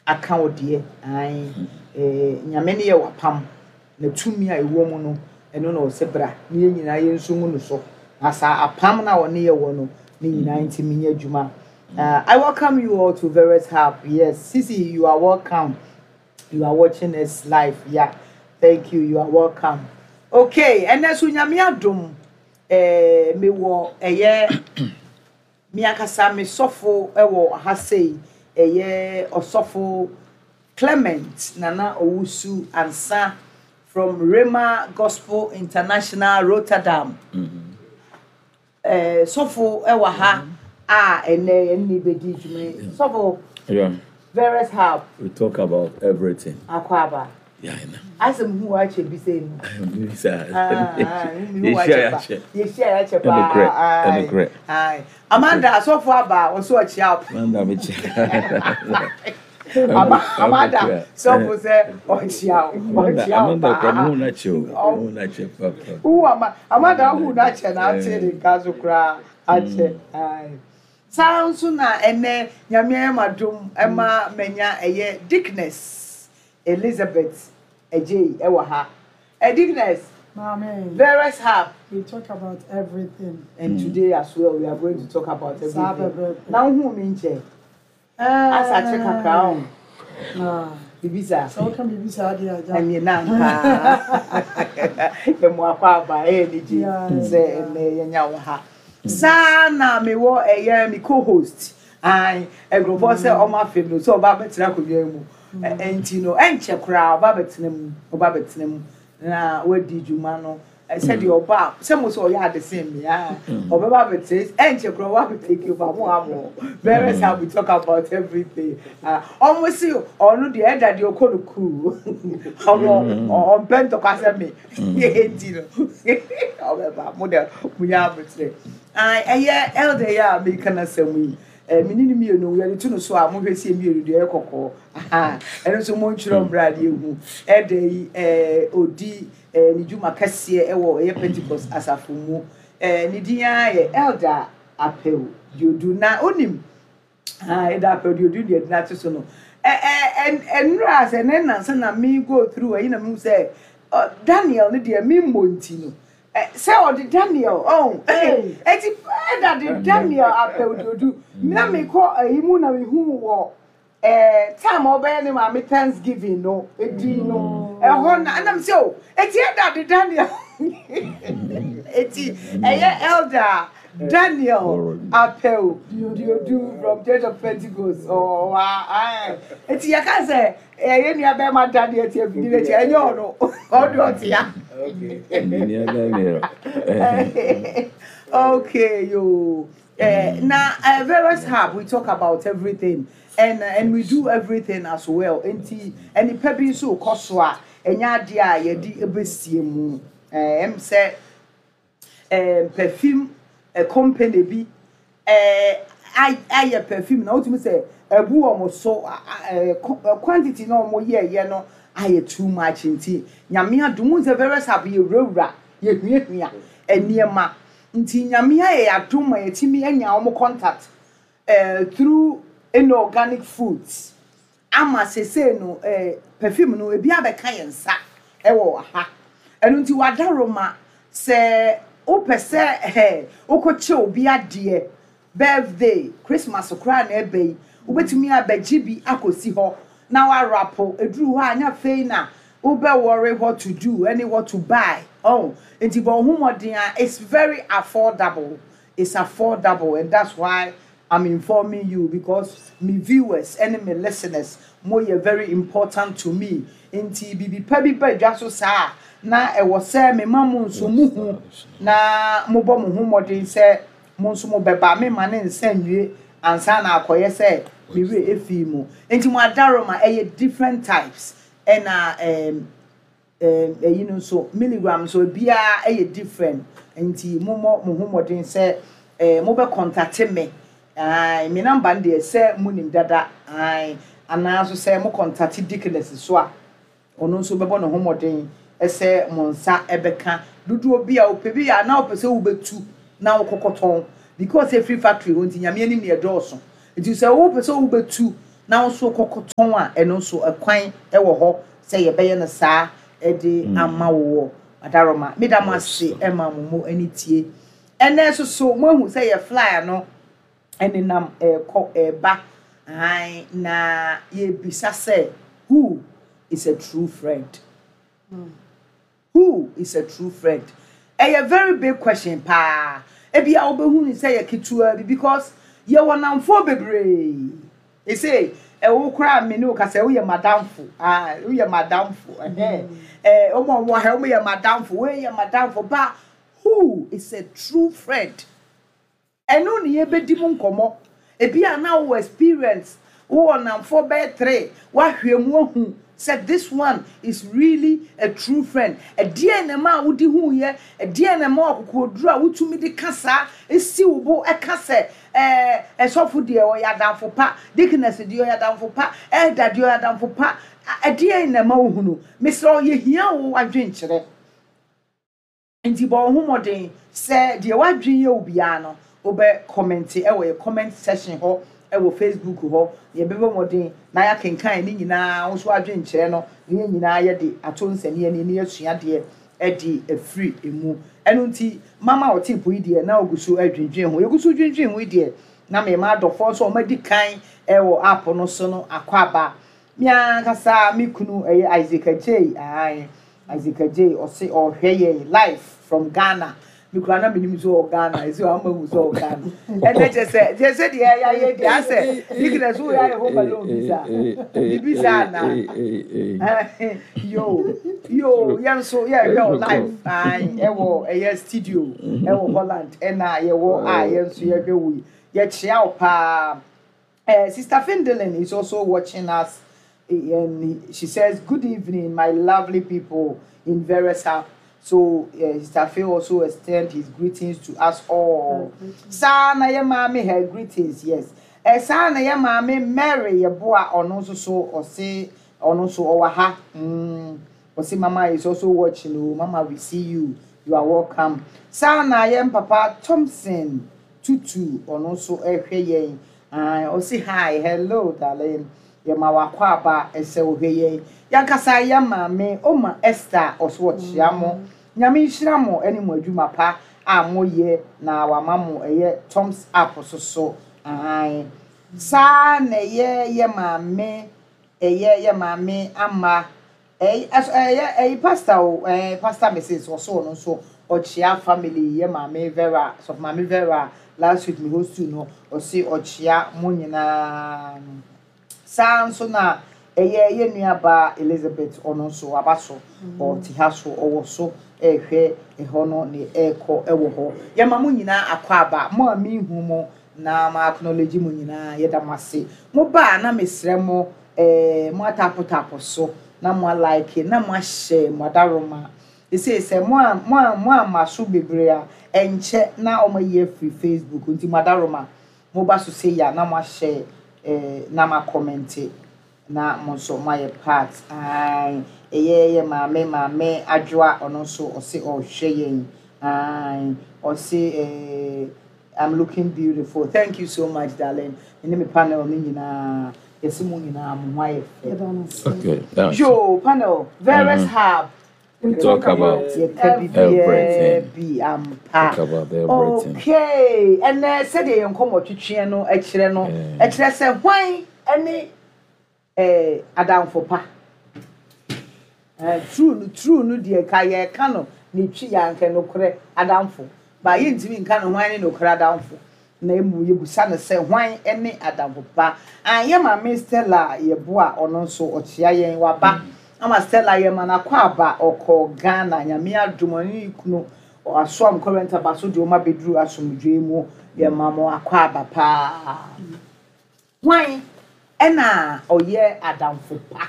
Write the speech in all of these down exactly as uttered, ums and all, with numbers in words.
Aka wo deɛ ae eh, Nyame ne yɛ wapam na tumi a ɛwɔ mu no, ɛno na ɔsɛ bra ne yɛn nyinaa yɛn nso ngu no so na saa apam na ɔne yɛ wɔ no ne nyinaa ntumi nyɛ adwuma. uh, I welcome you all to Various Hub. Yes, Sisi, you are welcome. You are watching us live. Yeah, thank you. You are welcome. Okay, ɛnɛ so Nyame adom, eh, mewɔ ɛyɛ me ankasa me sɔfo ɛwɔ ha sei, ɛyɛ Ɔsɔfo Clement Nana Owusu Ansa from Rhema Gospel International, Rotterdam. eh, sɔfo ɛwɔ ha a ɛnɛ yɛn ne bɛdi dwuma yi. Sɔfo. Yeah. Various Hub. We talk about everything. Akɔ aba. Yeah, I know. Asɛm hu wakyɛ bi sɛ mu. Bisa. Yɛhyia yɛakyɛ. Yɛhyia yɛakyɛ paa. Ɛnokorɛ. Ɛnokorɛ. Aye. Amanda, asɔfo aba, ɔso ɔkyia wo. Amanda mekyia. Ama Amanda, sɔfo sɛ ɔkyia wo. Amanda, Ɔkyia wo Amanda kura paa. mu na kyɛ o. Mu na kyɛ papa. Wo ama Amanda hu na kyɛ na ate ne nka so koraa akyɛ. Aye. Saa nso na ɛnɛ Nyame ayɛ m'adom ɛma manya ɛyɛ Deaconess Elizabeth Agyei ɛwɔ ha. Ɛ Deaconess. Mami. Various Hub. We talk about everything. And today as well, we are going to talk about Saa everything. pɛpɛɛpɛ. Na wohu mi nkyɛ. Asa akye kakra o. Ah. Bibi saa. Sɛ woka biribi saa deɛ agya. Ɛnyɛ na paa. Yɛmu akɔ aba ɛyɛ anigye Yeah, sɛ ɛnɛ yɛnya wo ha. Saa na mewɔ ɛyɛ me co-host. Ae, nkurɔfoɔ sɛ ɔmo afem no sɛ ɔba abɛtena akonnwa yi mu. Ɛ- Ɛnti no, ɛnkyɛ koraa ɔba abɛtena mu, ɔba abɛtena mu na wadi dwuma no. Ɛ, sɛdeɛ ɔba a, sɛ mo sɛ ɔyɛ ade sen me a, ɔbɛba abɛtena, ɛnkyɛ koraa ɔba abɛtake over mo ha mo. Various how we talk about everything. Ah, ɔmo si ɔno deɛ ɛda deɛ ɔkɔ no cool. Ɔno ɔmpɛ ntɔkwa sɛ me. Enti no, ɔbɛba mo deɛ mo nyɛ abotire. Ah, ɛyɛ elder yi a meka n'asɛm yi. Eh, me ne ne mmienu yɛde to no so a mohwɛ sie mmienu deɛ ɛyɛ kɔkɔɔ. Aha, ɛno nso montwerɛ mmerɛ a deɛ ehu. Elder yi eh, odi eh, ne dwuma kɛseɛ ɛwɔ ɛyɛ Pentecost asafo mu. Eh, ne din ara yɛ Elder Apɛw Diodu na onim. Ah, Elder Apɛw Diodu deɛ ɛde n'ato so no. Ɛ ɛ ɛ nnura sɛ ne nansa na me go through ɛyi na me hu sɛ ɔ Daniel ne deɛ me mmɔ nti no. Ɛ sɛ ɔde Daniel ɔn eti ɛda de Daniel Apɛw Diodu na me kɔ ɛyi mu na me hu wɔ ɛɛ time a ɔbɛyɛ ne maame Thanksgiving no edi no ɛhɔ na ɛnam sɛ o eti ɛda de Daniel eti ɛyɛ Elder Daniel Apɛw Diodu from Church of Pentecost. Ɔwɔ ɛɛ eti yɛka sɛ ɛyɛ nua bɛrima Daniel ti efidi n'akyi, ɛnyɛ ɔno, ɔde ɔte ya. Engineer Daniel. Okay, yo. Uh, now, uh, Various Hub, we talk about everything, and uh, and we do everything as well. Enti, and nipa bi nso kɔ so a, ɛnyɛ adeɛ a yɛde ebesie mu. Ɛm sɛ ɛɛ perfume ɛ company bi ɛɛ ayɛ perfume na wotumi sɛ ɛbu wɔn so ɛɛ quantity na wɔn yɛ yɛ no ayɛ too much, nti Nyame adum sɛ Various Hub yɛ wurawura, yɛ huahua nneɛma, nti Nyame ayɛ adum ma yɛtumi anya wɔn contact ɛɛ through inorganic foods ama sese no ɛɛ perfume no ebi abɛka yɛn nsa ɛwɔ ha. Ɛno nti wadaroma sɛ wopɛ sɛ ɛɛ wokɔkyɛ obi adeɛ, birthday, Christmas koraa na ɛbɛ yi, wobɛtumi abɛgye bi akɔsi hɔ na warapo eduru hɔ a anya afei na wobɛ worry what to do ɛne what to buy. Oh, nti bɔ ɔho mmɔden a it's very affordable. It's affordable, and that's why I'm informing you, because me viewers and me listeners mo yɛ very important to me. Nti bibi pa bi ba dwa so saa na ɛwɔ sɛ me ma mo nso mo hu na mo bɔ mo ho mmɔden sɛ mo nso mo bɛba. Me ma ne nsa nwie ansa na akɔyɛ sɛ me werɛ efi mu. Nti mo adaroma ɛyɛ different types, ɛna ɛɛm ɛɛm ɛyi no nso milligram nso ebiara ɛyɛ different, nti mo mɔ mo ho mmɔden sɛ ɛɛ mo bɛ contact me. Ae, me number no deɛ sɛ mo nim dada. Ae, anaa nso sɛ mo contact Deaconess so a, ɔno nso bɛbɔ ne ho mmɔden ɛsɛ mo nsa ɛbɛka dodoɔ bi a wopɛ bi a na wopɛ sɛ wobɛtu na wokɔkɔtɔn, because efiri factory hɔ nti Nyame anim ne ɛdɔɔso, nti sɛ wopɛ sɛ wobɛtu Na wo nso kɔkɔtɔn a, ɛno nso ɛkwan ɛwɔ hɔ sɛ yɛbɛyɛ no saa ɛde ama wo wɔ Adaroma. Meda mo ase ɛma mo mo ani tie. Ɛnɛ nso so moahu sɛ yɛ flyer no ɛnenam ɛɛkɔ ɛɛba ahan, na yɛbisa sɛ, who is a true friend? Who is a true friend? Ɛyɛ very big question paa. Ebi a wobɛhu ne sɛ yɛ ketewa bi, because yɛwɔ namfoɔ bebree. Ese ɛwo koraa, me ne wo kasa, woyɛ madamfo. Ah, woyɛ madamfo. Ɛhɛn, ɛɛ ɔmo a wɔwɔ ha, ɔmo yɛ madamfo, wei yɛ madamfo ba. Who is a true friend? Ɛno ne yɛbɛdi mu nkɔmmɔ. Ebi a na wowɔ experience, wowɔ namfoɔ bɛyɛ three, woahwɛ mu ahu sɛ this one is really a true friend. Ɛdeɛn na ɛma a wodi hu yɛ? Ɛdeɛn na ɛma akokoduru a wotumi de ka saa esi wo bo ɛka sɛ ɛɛ ɛsɔfo deɛ ɔyɛ adamfo pa, deaconess deɛ ɔyɛ adamfo pa, elder deɛ ɔyɛ adamfo pa? Ɛdeɛn na ɛma wohunu? Mesrɛ, yɛhia wo adwenkyerɛ, nti bɔ wo ho mmɔden sɛ deɛ wadwen yɛ wo biara no, wobɛ comment ɛwɔ yɛ comment section hɔ ɛwɔ Facebook hɔ. Yɛbɛbɔ mmɔden na yɛakenkan ne nyinaa, wo nso adwenkyerɛ no ne yɛn nyinaa yɛde ato nsɛnniɛ ni ne yɛsua deɛ ɛde afiri emu. Ɛno nti mama ɔte po yi deɛ na ogu so adwendwen ho, yɛgu so dwendwen ho yi deɛ, na mɛma adɔfoɔ nso a wɔadi kan ɛwɔ app no so no akɔ aba. Me ankasa me kunu ɛyɛ Isaac Agyei. Ae, Isaac Agyei ɔse ɔhwɛ yɛn live from Ghana. Me kura na menim sɛ ɔwɔ Ghana, ɛsɛ ɔama hu sɛ ɔwɔ Ghana. Ɛnɛ kyɛ sɛ kyɛ sɛ deɛ yɛayɛ deɛ asɛ deaconess wo yɛ ayɛ Home Alone bi saa biribi saa na yo yo, yɛn nso yɛhwɛ wo live. Ae, ɛwɔ ɛyɛ studio ɛwɔ Holland, ɛna yɛwɔ a yɛn nso yɛhwɛ wo yi, yɛkyea wo paa. Uh, Sister Findelin is also watching us, and she says, "Good evening, my lovely people in various hub." So uh, Sister Phil also extend his greetings to us all. Saa na yɛ maame her greetings, yes. Eh, saa na yɛ maame Mary Yeboah, ɔno nso so ɔse ɔno nso ɔwɔ ha. Mm. Ɔse Mama is also watching. Oh, Mama, we see you. You are welcome. Saa na yɛ Papa Thompson Tutu, ɔno nso ɛhwɛ yɛn. Ah, ɔse hi, hello darling. Yɛma wakɔ aba ɛsɛ wohwɛ yɛn. Yankasa yɛ maame Oma Esther, ɔso ɔkyea mo. Nyame nhyira mo ɛne mo adwuma pa a moyɛ na wama mo ɛyɛ thumbs up so so. Ahan. Saa na ɛyɛ yɛ maame, ɛyɛ yɛ maame ama ɛyɛ ɛyɛ ɛyɛ pastor o, ɛɛ Pastor Missus ɔso ɔno nso ɔkyea family, yɛ maame Vera, sɔfo maame Vera, last week mi host no, ɔsi ɔkyea mo nyinaa. Saa nso na ɛyɛ yɛ nuaba Elizabeth, ɔno nso aba so, ɔte ha so, ɔwɔ so ɛrehwɛ ɛhɔ no ne ɛrekɔ ɛwɔ hɔ. Yɛma mo nyinaa akɔ aba. Mo a mihu mo na ma acknowledge mo nyinaa, yɛda mo ase. Mo ba a, na mesrɛ mo, ɛɛ mo atapotaapo so na mo alike na mo ahyɛ mo adaroma. Ese sɛ mo a mo a mo ama so bebree a, ɛnkyɛ na wɔn ayi afiri Facebook, nti mo adaroma, mo ba so se ya na mo ahyɛ ɛɛ na mo acomment na mo nso mo ayɛ part. Ae, ɛyɛ yɛ maame maame Adwoa, ɔno nso ɔse ɔrehwɛ yɛn. Ae, ɔse ɛɛ "I'm looking beautiful." Thank you so much, darling. Ɛne me panel ne nyinaa, yɛsi mo nyinaa mo ho ayɛ fɛ. Okay, that's Yo, panel, various hub. We talk about yɛka biribiara everything. Bi ampa. Talk about everything. Okay, ɛnɛ sɛdeɛ yɛn nkɔmmɔ twitwiɛ no ɛkyerɛ no, Yeah. ɛkyerɛ sɛ hwan ɛne ɛɛ adamfo pa? ɛɛ true no, true no deɛ ka yɛka no ne twi yɛ anka nokorɛ adamfo ba, yɛntumi nka no hwan ne nokorɛ adamfo, na emu yɛbusa no sɛ hwan ne adamfo pa? Anyɛ maame Stella Yɛboa, ɔno nso ɔkyea yɛn, waba ama Stella yɛ ma n'akɔ aba. Ɔkɔ Ghana, Nyame adom, ɔne ne kunu asoam current aba so deɛ, ɔma bɛduru asomdwoe mu. Yɛma mo akɔ aba paa. Hwan ɛna ɔyɛ adamfo pa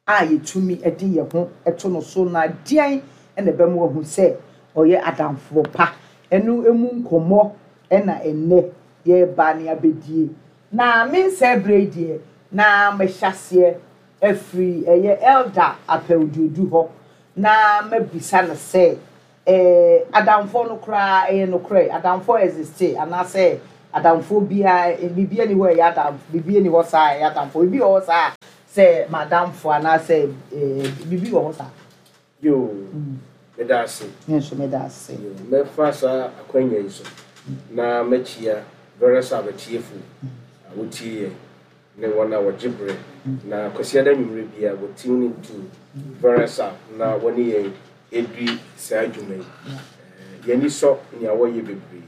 a yɛtumi de yɛn ho to no so, na deɛn ɛna ɛbɛma wahu sɛ ɔyɛ adamfo pa? Ɛno emu nkɔmmɔ ɛna ɛnnɛ yɛreba ne abɛdie. Na me nsɛ berɛ yi deɛ, na mehyɛ aseɛ afiri ɛyɛ Elder Apɛwduodu hɔ na mabisa no sɛ ɛɛ adamfoɔ no koraa ɛyɛ nokorɛ adamfoɔ exist anaasɛ Adamfoɔ biara, biribi ani hɔ a ɛyɛ adamfo, biribi ani hɔ saa a ɛyɛ adamfo, biribi wɔ hɔ saa sɛ madamfo anaasɛ ɛɛ biribi wɔ hɔ saa. Yoo, meda ase. Me nso meda ase. Yoo, mɛfa saa akwanya yi so na mɛkyia various abatiefo a wotie yɛn ne wɔn a wɔgye berɛ na Kwasiada anwummerɛ bi a wɔ tune into various app na wɔne yɛn ɛdi saa adwuma yi. Eh, yɛni sɔ nea wɔyɛ bebree.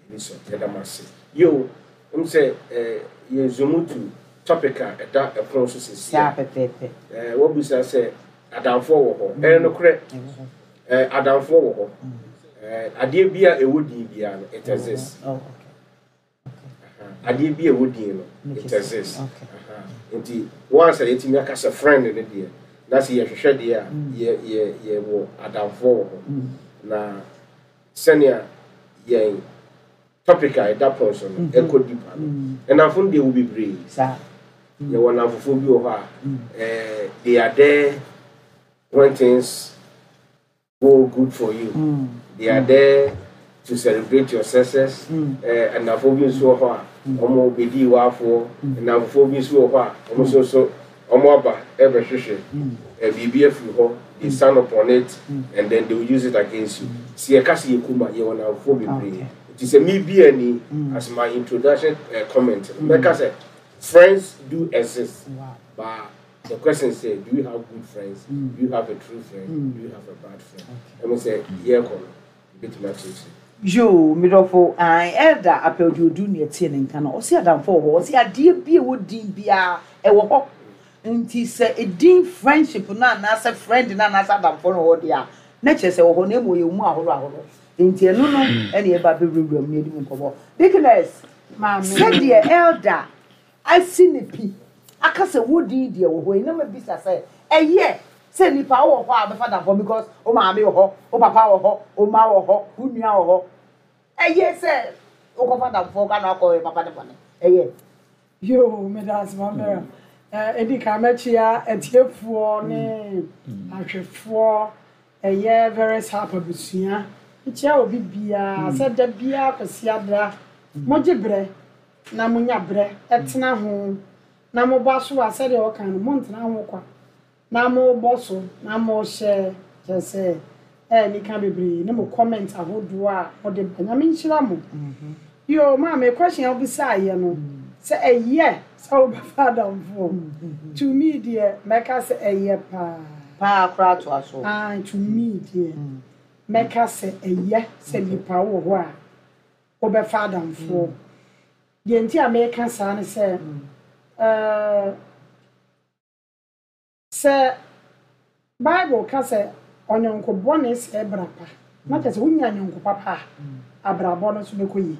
Yɛni sɔ, yɛda mo ase. Yoo, m sɛ eh, yɛ zoom to topic a ɛda ɛpono so seesei. Saa pɛpɛɛpɛ. Eh, wɔbusa sɛ adamfoɔ wɔ hɔ. Ɛyɛ nokorɛ. Eh, adamfoɔ wɔ hɔ. Eh, adeɛ bi a ɛwɔ din biara no, it exists. Oh, okay. Adeɛ bi a ɛwɔ din no, it Okay. exists. Okay. Aha. Nti once a yɛtumi aka sɛ friend no deɛ, na sɛ yɛhwehwɛ deɛ a, yɛ yɛ yɛwɔ adamfoɔ wɔ hɔ. Na sɛnea yɛn topic a ɛda pɔn so no ɛkɔ deeper no, ɛnamfo no deɛ wɔ bebree. Saa. Yɛwɔ namfofoɔ bi wɔ hɔ a, eh, they are there when things go good for you. They are there to celebrate your success. Eh, nnamfoɔ bi nso wɔ hɔ a wɔn bɛdi waafoɔ. Nnamfoɔ bi nso wɔ hɔ a wɔn nso so wɔn aba ɛbɛhwehwɛ eh, biribi afiri hɔ. They stand upon it and then they will use it against you. Si yɛka sɛ yɛ kuma, yɛwɔ nnamfoɔ bebree. Nti sɛ mi bi ani as my introduction uh, comment no, mɛka sɛ friends do exist. Wow. But the question is, do you have good friends? Do you have a true friend? Do you have a bad friend? Ɛmo sɛ yɛrekɔ no, ebetumi akyerɛkyerɛ. Yoo, medɔfo, an elder apɛwde ne ɛtie ne nka no, ɔsi adamfo wɔ hɔ, ɔsi adeɛ bi a ɛwɔ din biara ɛwɔ hɔ. Nti sɛ edin friendship no anaasɛ friend no anaasɛ adamfo no wɔ hɔ deɛ a, na kyerɛ sɛ wɔ hɔ na emu yɛ mu ahorow ahorow. Nti ɛno no ɛna ɛba abɛwurawura mu na yɛdi mu nkɔmmɔ. Deaconess, Maame. sɛdeɛ elder asi ne pi aka sɛ wo din deɛ wɔ hɔ yi, na ma bisa sɛ ɛyɛ sɛ nipa wɔ hɔ a bɛfa adamfo, because wo maame wɔ hɔ, wo papa wɔ hɔ, wo ma wɔ hɔ, wo nua wɔ hɔ, ɛyɛ sɛ wokɔfa adamfo ka na akɔ yɛ papa ne bɔne, ɛyɛ? Yoo, meda ase, Mambera. Ɛdi kan, mɛkyia atiefoɔ ne ahwɛfoɔ, ɛyɛ various harp abusua. Mekyia obi biara sɛ da biara Kwasiada mogye berɛ na monya berɛ ɛtena ho na mobɔ so a, sɛdeɛ ɔka no, montena ho kwa na mobɔ so na mohyɛ, kyerɛ sɛ ɛyɛ nika bebree ne mo comment ahodoɔ a mode ba. Nyame nhyira mo. Yo, maame, question a wobisaeɛ no sɛ ɛyɛ sɛ wobɛfa adamfoɔ, to me deɛ, mɛka sɛ ɛyɛ paa. Paa koraa toa so. Ah, to me deɛ, mɛka sɛ ɛyɛ sɛ nipa wɔ hɔ a wobɛfa adamfoɔ. Deɛ nti a mɛka saa ne sɛ, ɛɛ, sɛ Bible ka sɛ ɔnyɔnko bɔne sɛ bra pa, na kyerɛ sɛ wonya nyɔnko papa a, abrabɔ no nso bɛkɔ yie.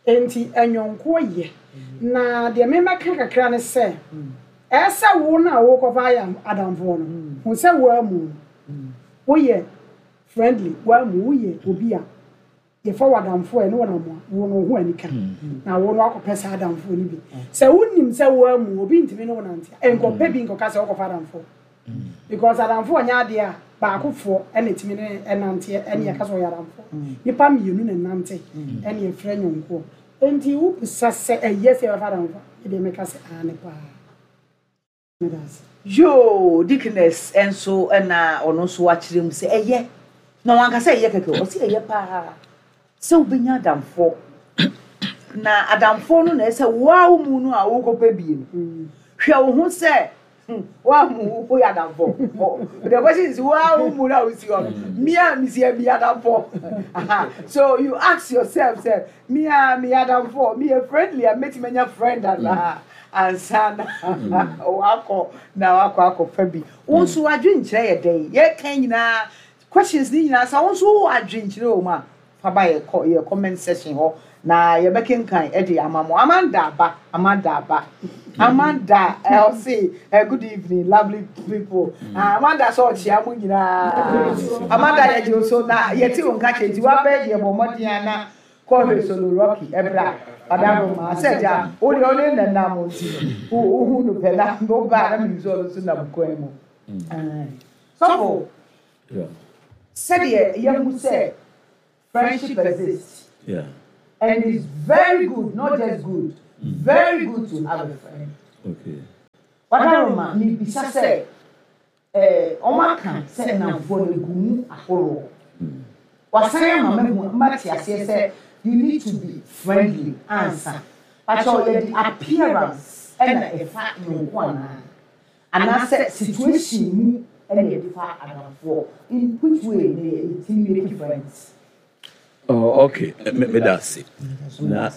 Enti ɛnyɔnkoɔ yɛ. Na deɛ memɛka kakra ne sɛ, ɛsɛ wo no a wokɔfa ayɛ adamfoɔ no hu sɛ woamu woyɛ friendly, woamu woyɛ obi a yɛfa wɔ adamfoɔ a ɛne wɔnam a wo no wo ho anika na wo no akɔpɛ saa adamfoɔ no bi. Sɛ wonim sɛ woamu obi ntumi ne wo nante a, nkɔpɛ bi nkɔka sɛ wokɔfa adamfoɔ, because adamfoɔ nyɛ adeɛ a baakofoɔ ɛna ɛtumi ne ɛnanteɛ. Ɛne yɛka sɛ ɔyɛ adamfoɔ, nipa mmienu na ɛnante ɛne yɛfrɛ nyɔnkoɔ. Enti wobisa sɛ ɛyɛ sɛ yɛbɛfa adamfoɔ a, ɛdeɛ mɛka sɛ aane paa. Meda ase. Yoo, deaconess nso ɛna ɔno nso wakyerɛ mu sɛ ɛyɛ, na wankasa ɛyɛ kɛkɛ, ɔsi ɛyɛ paa sɛ wobɛnya adamfoɔ, na adamfoɔ no na ɛsɛ woa wo mu no a wokɔpɛ bie no, hwɛ wo ho sɛ hmm, woamu woyɛ adamfoɔ. The question is, woa wo mu no a wosi hɔ no, me a mesi mi adamfoɔ. Aha. So you ask yourself sɛ me a meyɛ adamfoɔ, meyɛ friendly a mɛtumi anya friend anaa ansa na wakɔ na wakɔ akɔfa bi. Wo nso adwenkyerɛ yɛ dɛn? Yɛka nyinaa, questions ne nyinaa, sɛ wo nso wowɔ adwenkyerɛ wɔ mu a, fa ba yɛ kɔ yɛ comment section hɔ na yɛbɛkenkan ɛde ama mo. Amanda aba, Amanda aba, Amanda ɛ ɔse ɛ "Good evening, lovely people." Ah, Amanda sɛ ɔkyea mo nyinaa. Amanda, yɛgye wo so na yɛte wo nka kyɛ nti wabɛɛ deɛ, bɔ mmɔden ana kɔhwɛ Solo Rocky ɛbra ɔdaro ma sɛ gya wo deɛ ɔne nenam nti no wohu no pɛ na wobaa na menim sɛ ɔno nso nam kwan mu. Aye. Sɔfo, Yeah. sɛdeɛ yɛhu sɛ friendship exists, Yeah. And it's very good, not just good, very good to have a friend. Okay. Wadaroma, mebisa sɛ, eh, ɔmo aka sɛ nnamfoɔ no gu mu ahoroɔ. Wasan ama mahu mate aseɛ sɛ you need to be friendly ansa. Pakyɛ, yɛde appearance ɛna ɛfa nyɔnko anaa? Anaasɛ situation mu ɛna yɛde fa adamfoɔ? In which way na yɛtumi make friends? Oh, okay. Me me da ase. Na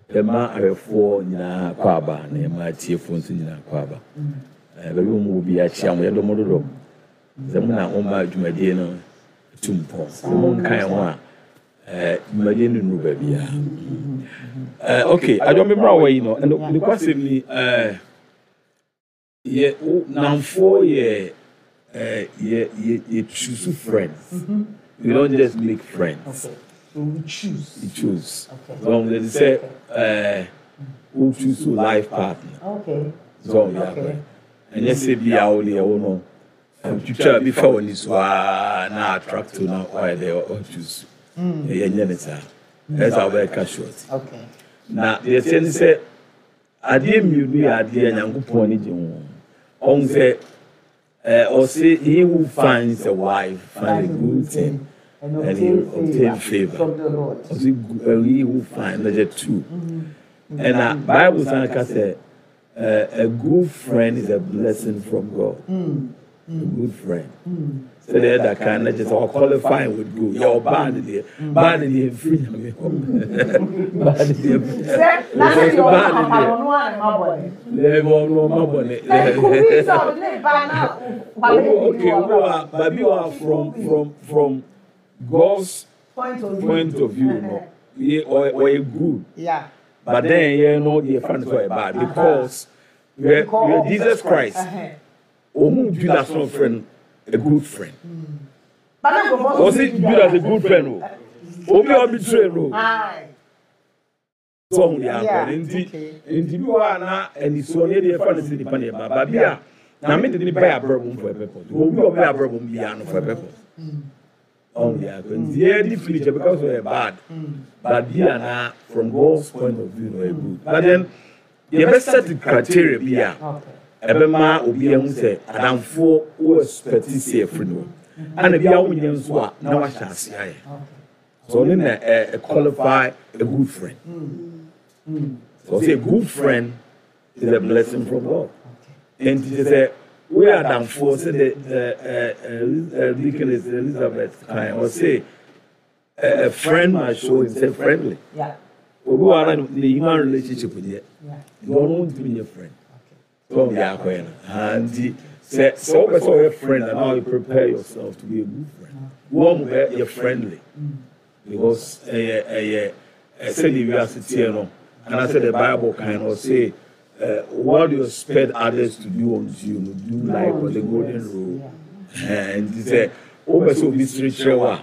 yɛma ahwɛfoɔ nyinaa kɔ aba na yɛma atiefoɔ nso nyinaa kɔ aba. Eh, baabi wɔn wɔ bi akyia mo, yɛdɔ mo dodo. Sɛ mo na mo ma dwumadie no tu mpɔn. Sɛ mo nkan ho a, eh, dwumadie no nnuru baabi a. Eh, okay, adwa me mmra wɔ yi no, ɛno ne kwasɛm ni, eh, yɛ wo namfoɔ yɛ eh, yɛ yɛ yɛ choose friends. We don't just make friends. Okay. So we choose. You choose. Okay. So they say, uh, who choose your life partner. Okay. So yeah, Okay. and you say be out there, oh no. Twitwa bi fa w'ani so aa na attract na ɔyɛ dɛ ɔchoose. Ɛyɛ nyɛ ne saa. Ɛsɛ sɛ wobɛka short. Okay. Na deɛ ɛteɛ ne sɛ adeɛ mmienu yɛ adeɛ a Nyankopɔn ani gye ho. Ɔhu sɛ ɛɛ ɔse he who finds a wife find a good thing And and he obtain obtain favor favor. from the Lord. Ɔse gu- uh, he who find na kyɛ two. Ɛna Bible san ka sɛ uh, a good friend is a blessing from God. A good friend. Sɛdeɛ ɛda kan na kyerɛ sɛ ɔqualify with good. Yɛ ɔbaa ne deɛ, baa ne deɛ mfiri Nyame hɔ. Baa ne deɛ. Sɛ na sɛ deɛ ɔno Baa ne papa deɛ. no ɔno a ne ma bɔ ne. Ɛbɛ ɔno ɔma bɔ ne. Sɛ kubi sɛ ɔde ne ba na wale Okay, wo a baabi wa from from from God's point of view. point of view no, yɛ ɔyɛ ɔyɛ good. Yeah. But then yɛn no deɛ fa no sɛ ɔyɛ bad because yɛ yɛ Jesus Christ Uh-huh. ohun Judas no friend a good friend. But then go for Ɔsi Judas a good friend o. Obi a ɔbi no. Aye. Sɛ ɔhun deɛ Yeah, akɔ ne nti okay. nti bi wɔ a na anisuo ne deɛ fa no sɛ nipa ne ba baabi a na me de nipa yɛ abrɛ bom for a purpose. Obi a ɔbɛ abrɛ bom biara no for a purpose. Ɔhun deɛ akɔ nti yɛ di fili kyɛ because ɔyɛ bad. But bi a na from God's point of view no ɔyɛ good. But then yɛbɛ set criteria bi a Okay. ɛbɛma obi ahu sɛ adamfoɔ wo expect sɛ ɛfiri no ana bi a wonyɛ nso a na wahyɛ ase ayɛ. Okay. So ɔno na ɛ ɛ qualify a good friend. So ɔsɛ a good friend is a blessing from God. Nti kyerɛ sɛ woyɛ adamfoɔ sɛ de ɛ ɛ ɛ Deaconess Elizabeth kan ɔsɛ a a friend must show himself friendly. Yeah. Obi wɔ ara ne human relationship deɛ Yeah. nti ɔno ntumi nyɛ friend. Okay. So ɔmo yɛ akɔyɛ no. Ha nti sɛ sɛ wopɛ sɛ ɔyɛ friend a, now you prepare yourself to be a good friend. Wɔn mo bɛ yɛ friendly because ɛyɛ ɛyɛ ɛsɛ de wiase teɛ no anaasɛ the Bible kan no ɔse uh, what you expect others to do unto you no, do like the golden rule. Ɛɛ nti sɛ wopɛ sɛ obi sere kyerɛ wo a,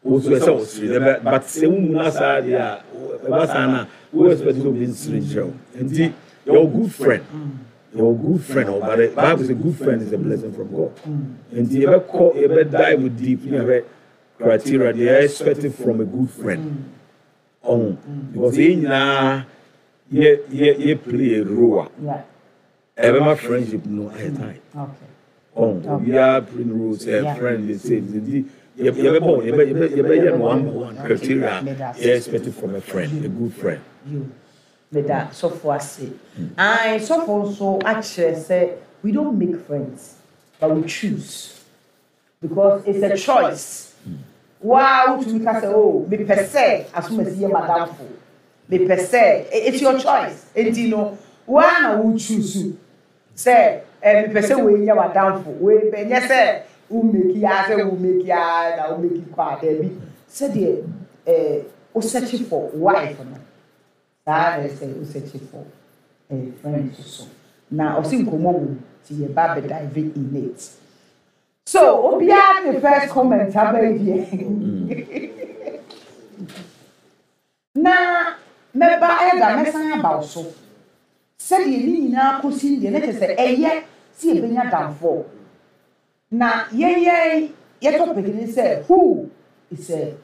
wo nso ɛsɛ wo sere dɛ, but sɛ wo mu na saa deɛ a ɛba saa na wo expect sɛ obi nsere kyerɛ wo. Nti yɛwɔ good friend, yɛwɔ good friend ɔ, but the Bible say good friend is a blessing from God. Nti yɛbɛkɔ yɛbɛ dive deep ne yɛbɛ criteria they are expected from a good friend ɔho because yɛn nyinaa yɛ yɛ yɛ play a role a Yeah. ɛbɛma friendship no ayɛ tight. Okay. Ɔho obiara play the role sɛ Yeah. friend dey say nti yɛ yɛbɛbɔ yɛbɛ yɛbɛ yɛbɛyɛ no one by one criteria yɛ expected from a friend, a good friend. You. Meda sɔfo ase. Aye, sɔfo nso akyerɛ sɛ we don't make friends, but we choose. Because it's a choice. Waa wotumi ka sɛ, oh, mepɛ sɛ asomasi yɛ madamfo. Mepɛ sɛ, it's your choice. Enti no, waa na wo choose sɛ ɛ mepɛ sɛ wei nyɛ w'adamfo. Wei bɛ nyɛ sɛ wo make ya sɛ wo make ya na wo make kɔ a daabi. Sɛdeɛ ɛɛ wo search for wife no, saa na ɛsɛ wo search for ɛɛ friend so. Na ɔsi nkɔmɔ wɔ mu ti yɛ ba bɛ dive in it. So obiara ne first comment aba yi deɛ. Na mɛba ɛda mɛsan aba wo so. Sɛdeɛ ne nyinaa kɔsi deɛ ne kyerɛ sɛ ɛyɛ sɛ yɛbɛnya damfoɔ. Na yɛn yɛn yɛ topic ne sɛ who is a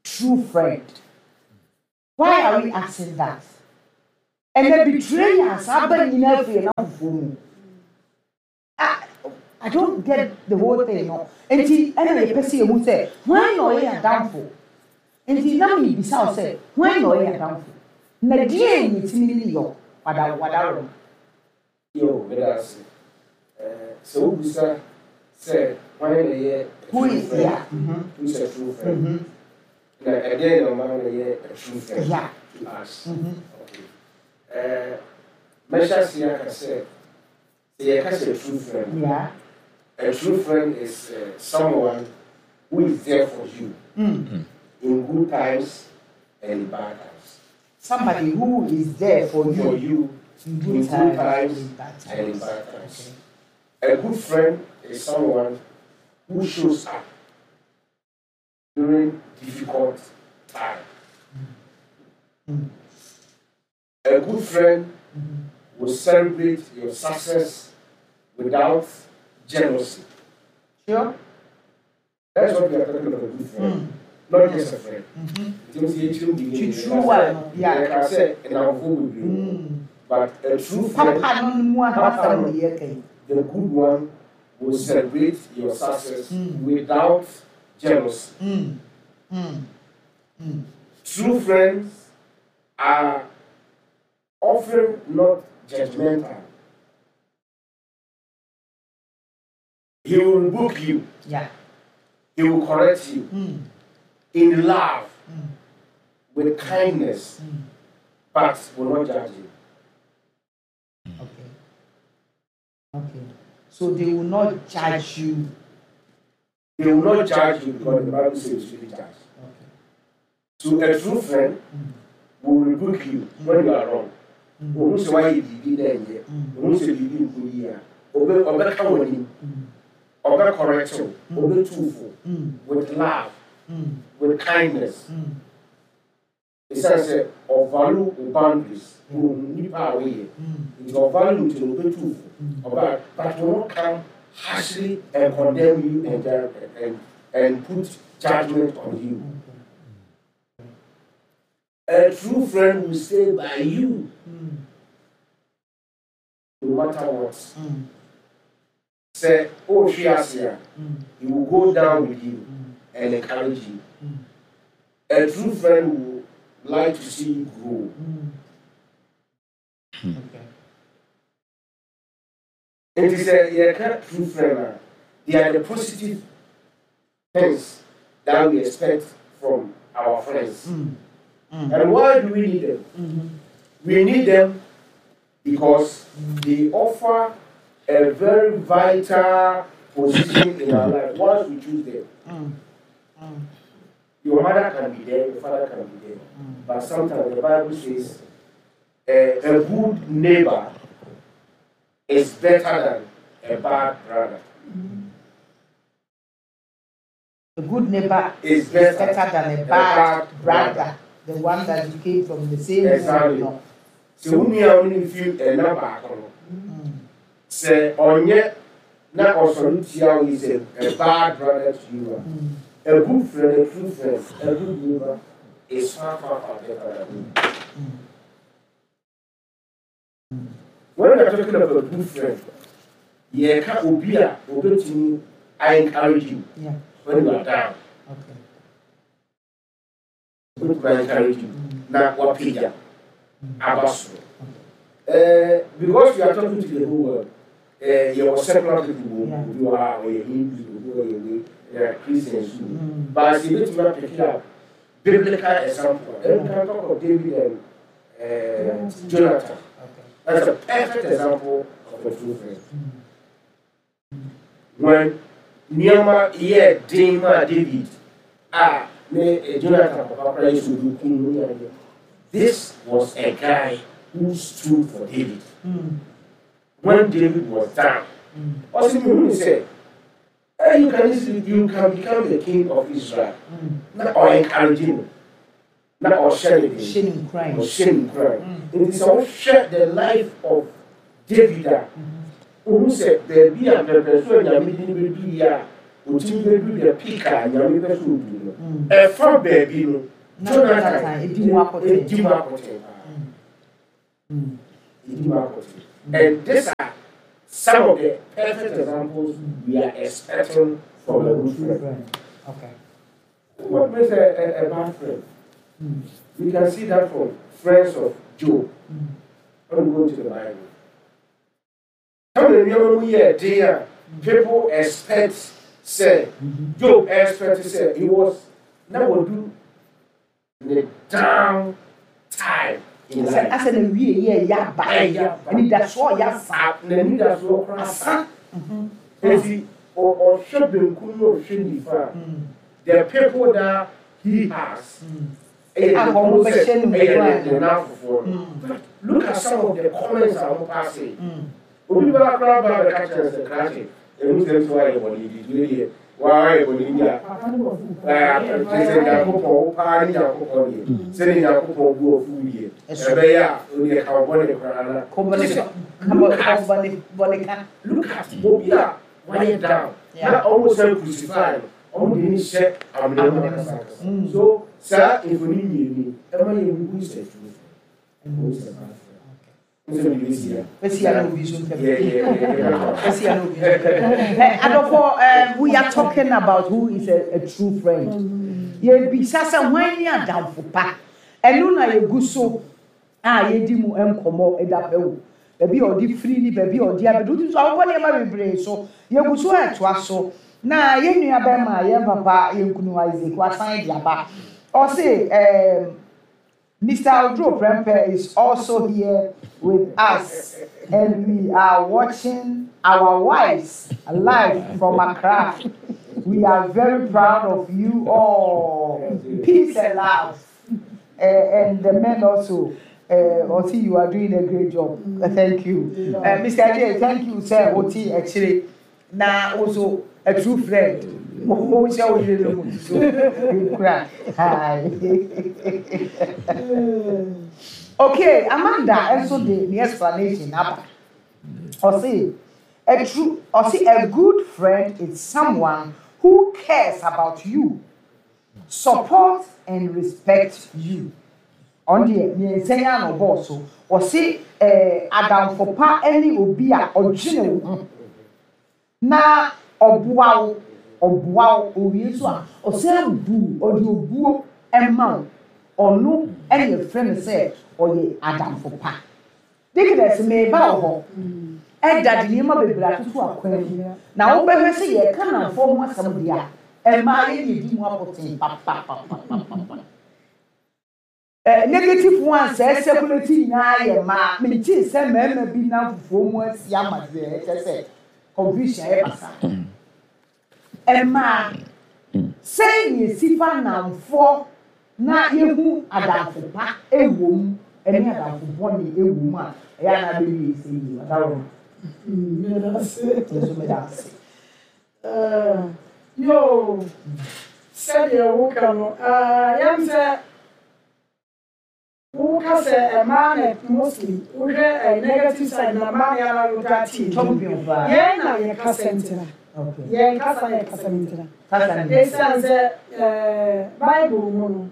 true friend. Why are we asking that? Ɛnɛ betrayals aba nyinaa firi ɛnamfoɔ mu. I, I don't get the whole thing no. Nti ɛna yɛpɛ sɛ yɛhu sɛ hwan na ɔyɛ adamfo. Nti na mebisa wo sɛ hwan na ɔyɛ adamfo. Na deɛ ne timi ne yɔ wada wadaro no. Yo, meda ase. Eh, sɛ wobisa sɛ hwan na ɛyɛ a Who true is friend? yeah. Mm-hmm. Who is a true friend? Mm-hmm. Na ɛdeɛn na ɔma no yɛ a true friend Yeah. to us? Mm-hmm. Okay. Eh, mɛhyɛ ase aka sɛ sɛ yɛka sɛ true friend, Yeah. a true friend is uh, someone who is there for you Mm. in good times and in bad times. Somebody who is there for you For you in good in good times, times in bad and in times. bad times. Okay. A good friend is someone who shows up during difficult time. Mm. A good friend will celebrate your success without jealousy. Sure. That's what we are talking about, a good friend. Mm. Not just a friend. Mm-hmm. Nti sɛ yɛkyerɛ mu beginning, To true one, yeah. yɛka sɛ nnamfo bebree. Mm. But a true friend, Papa no mu ahasɛm na yɛka yi. the good one, will celebrate your success Mm. without jealousy. Mm. Mm. Mm. True friends are often not judgmental. He will rebuke you, Yeah. he will correct you Mm. in love, Mm. with kindness, Mm. but will not judge you. Okay. Okay. So they will not judge you. They will not judge you because the Bible says you shouldn't judge. Okay. So a true friend Mm. will rebuke you when you are wrong. Mm. Ohun sɛ wayɛ biribi na ɛnyɛ, Mm. ohun sɛ biribi nkɔ yie a, ɔbɛ ɔbɛka wɔ anim, Mm. ɔbɛ correct wo, ɔbɛtu wo fo Mm. with love, Mm. with kindness. Mm. Ɛsiane sɛ ɔvalue wo boundaries, ohun nipa a woyɛ, Mm. nti ɔvalue nti no ɔbɛtu wo fo. Ɔbɛ but will not come harshly and condemn you and and and put judgment on you. Okay. A true friend will stay by you Mm. no matter what. Mm. Sɛ ɔrehwe ase a, Mm. he will go down with you Mm. and encourage you. Mm. A true friend will like to see you grow. Mm. Okay. Nti sɛ yɛka true friend a, they are the positive things that we expect from our friends. Mm. Mm. And why do we need them? Mm-hmm. We need them because they offer a very vital position in our life once we choose them. Mm. Mm. Your mother can be there, your father can be there. Mm. But sometimes the Bible says eh, a good neighbor is better than a bad brother. A good neighbor Is is better, better than a a bad bad brother. brother. The one that you came from the same Exactly. home. No. Sɛ wo nua a wo ne no fi ɛna baako no, Mm. sɛ ɔnyɛ na ɔsɔre tia wo is a, a bad brother to you a, Mm. a good friend, a true friend, a good neighbor is far, far, far better than you. Mm. When we are talking about a good friend, yɛka obi a obetumi I encourage you Yeah. when you are down. Okay. Obetumi I encourage you Mm. na wapagya aba soro. Eh, because you are talking to the whole world, eh, yɛwɔ secular people wɔ mu, Yeah. obi wɔ ha ɔyɛ Hindu, obi wɔ yɛ wei, there are Christians too. Mm. But yɛbɛtumi apick up biblical example. And we can talk of David and uh, Jonathan. Okay. That's a perfect example of a true friend. Mm. When nneɛma yɛ den maa David a ne eh, Jonathan papa koraa yɛ sɛ obi kum no ne adeɛ. This was a guy who stood for David. Mm. When David was down, Mm. ɔsi mi hu sɛ, eh, you can easily you can become the king of Israel. Mm. Na ɔ encourage no, na ɔhyɛ ne den. Hyɛ ne nkuran. Ɔhyɛ ne nkuran. Mm. Nti sɛ wohwɛ the life of David a, wohu sɛ baabi a pɛpɛ so a Nyame de no bɛduru yi a, otumi bɛduru the peak a Nyame pɛ sɛ odu no. Mm. Ɛfa baabi no, Na Jonathan Jonathan edi mu akɔten. Edi mu akɔten paa. Edi mu akɔten. And these are some of the perfect examples we are expecting from a good friend. Okay. What makes a, a, a bad friend? We can see that from friends of Job. When we go to the Bible. Some of the nneɛma mu yɛ den a people expect sɛ Job expect sɛ he was na wadu ne down time in Sɛ life. asɛ na wie yɛ yɛ aba. Ɛyɛ aba. Anidasoɔ yɛ asa. N'anidasoɔ koraa Asa. Eti ɔ- ɔhwɛ benkum na ɔhwɛ nifa a, the people that he has ɛyɛ A ne wɔn bɛhyɛ no ɛyɛ nkuran. ne ne nanfofoɔ no. But look at some of the comments a wɔn pass. Obi ba koraa ba bɛka kyerɛ sɛ krakye emu sɛ nso ayɛ bɔne bi tue deɛ waa ayɛ bɔne bi a ɛɛ kyerɛ sɛ Nyankopɔn wo paa ne Nyankopɔn deɛ sɛde Nyankopɔn bu afu deɛ ɛbɛyɛ a odeɛ ka wo bɔne koraa na Kɔbɔne Kyerɛ sɛ, kɔbɔne kɔbɔne bɔne ka. Look at obi a wayɛ down Yeah. na ɔmo sɛ crucify no, ɔmo de ne hyɛ amena mu akasakasa. So saa mfoni mmienu yi ɛma yɛ hu sɛ true friend, who is a bad friend. N sɛ biribi si a Bɛsi ya na obi so ntɛm. yɛ yɛ yɛ yɛ Bɛsi ya na obi so ntɛm. Eh, Adɔfo, um, we are talking about who is a, a true friend. Yɛbisa sɛ hwan ne adamfo pa. Ɛno na yɛgu so a yɛdi mu nkɔmmɔ ɛda pɛ wo. Baabi a ɔde firi ni baabi a ɔde abɛdu nso awokɔ nneɛma bebree so. Yɛgu so ɛtoa so. Na yɛn nua bɛrima yɛn papa yɛn kunu Isaac wasan de aba. Ɔse um, Mister Odro Prempe is also here with us, and we are watching our wives live from Accra. We are very proud of you all. Peace and love. Uh, and the men also. Uh, Oti, you are doing a great job. Uh, thank you. Uh, Mister J, thank you, sir. Oti, actually, now also a true friend. Mo ṣe wo yere no mu so. Hi. Okay, Amanda also the, the explanation aba. Ɔse, a true ɔse a good friend is someone who cares about you, supports and respects you. Ɔno deɛ mmiɛnsa yi ano bɔɔ so. Ɔse ɛɛ adamfo pa ne obi a ɔdwene wo ho na ɔboa wo, ɔboa wo owie nso a ɔsan bu ɔde obuo ɛma wo. Ɔno ɛna yɛfrɛ no sɛ ɔyɛ adamfo pa. Deaconess, meba wɔ hɔ. Ɛda de nneɛma bebree atoto akwan mu. Na wobɛhwɛ sɛ yɛka nnamfoɔ ho asɛm deɛ a, mmaa yɛ na edi mu akɔten papapapapapa. Eh, negative ones sɛ circulate nyinaa yɛ mmaa. Mekyee sɛ mmarima bi nam fufuo mu asi ama deɛ ɛkyɛ sɛ confusion ayɛ basa. Mmaa, sɛn na esi fa nnamfoɔ na yɛhu adamfo pa ɛwɔ mu ɛne adamfo bɔne ɛwɔ mu a ɛyɛ anaa bɛwie sɛ yie ɔdaworo? Meda ase. Nso meda ase. Eh, yo, sɛdeɛ woka no, eh, yɛm sɛ woka sɛ mmaa na mostly wohwɛ eh, negative side na mmaa na yɛara wota tie. Champion paa. Yɛn na yɛkasa ntena. Okay. Yɛn kasa yɛ kasa ntena. Kasa ne. Ɛsiane sɛ eh, Bible mu no,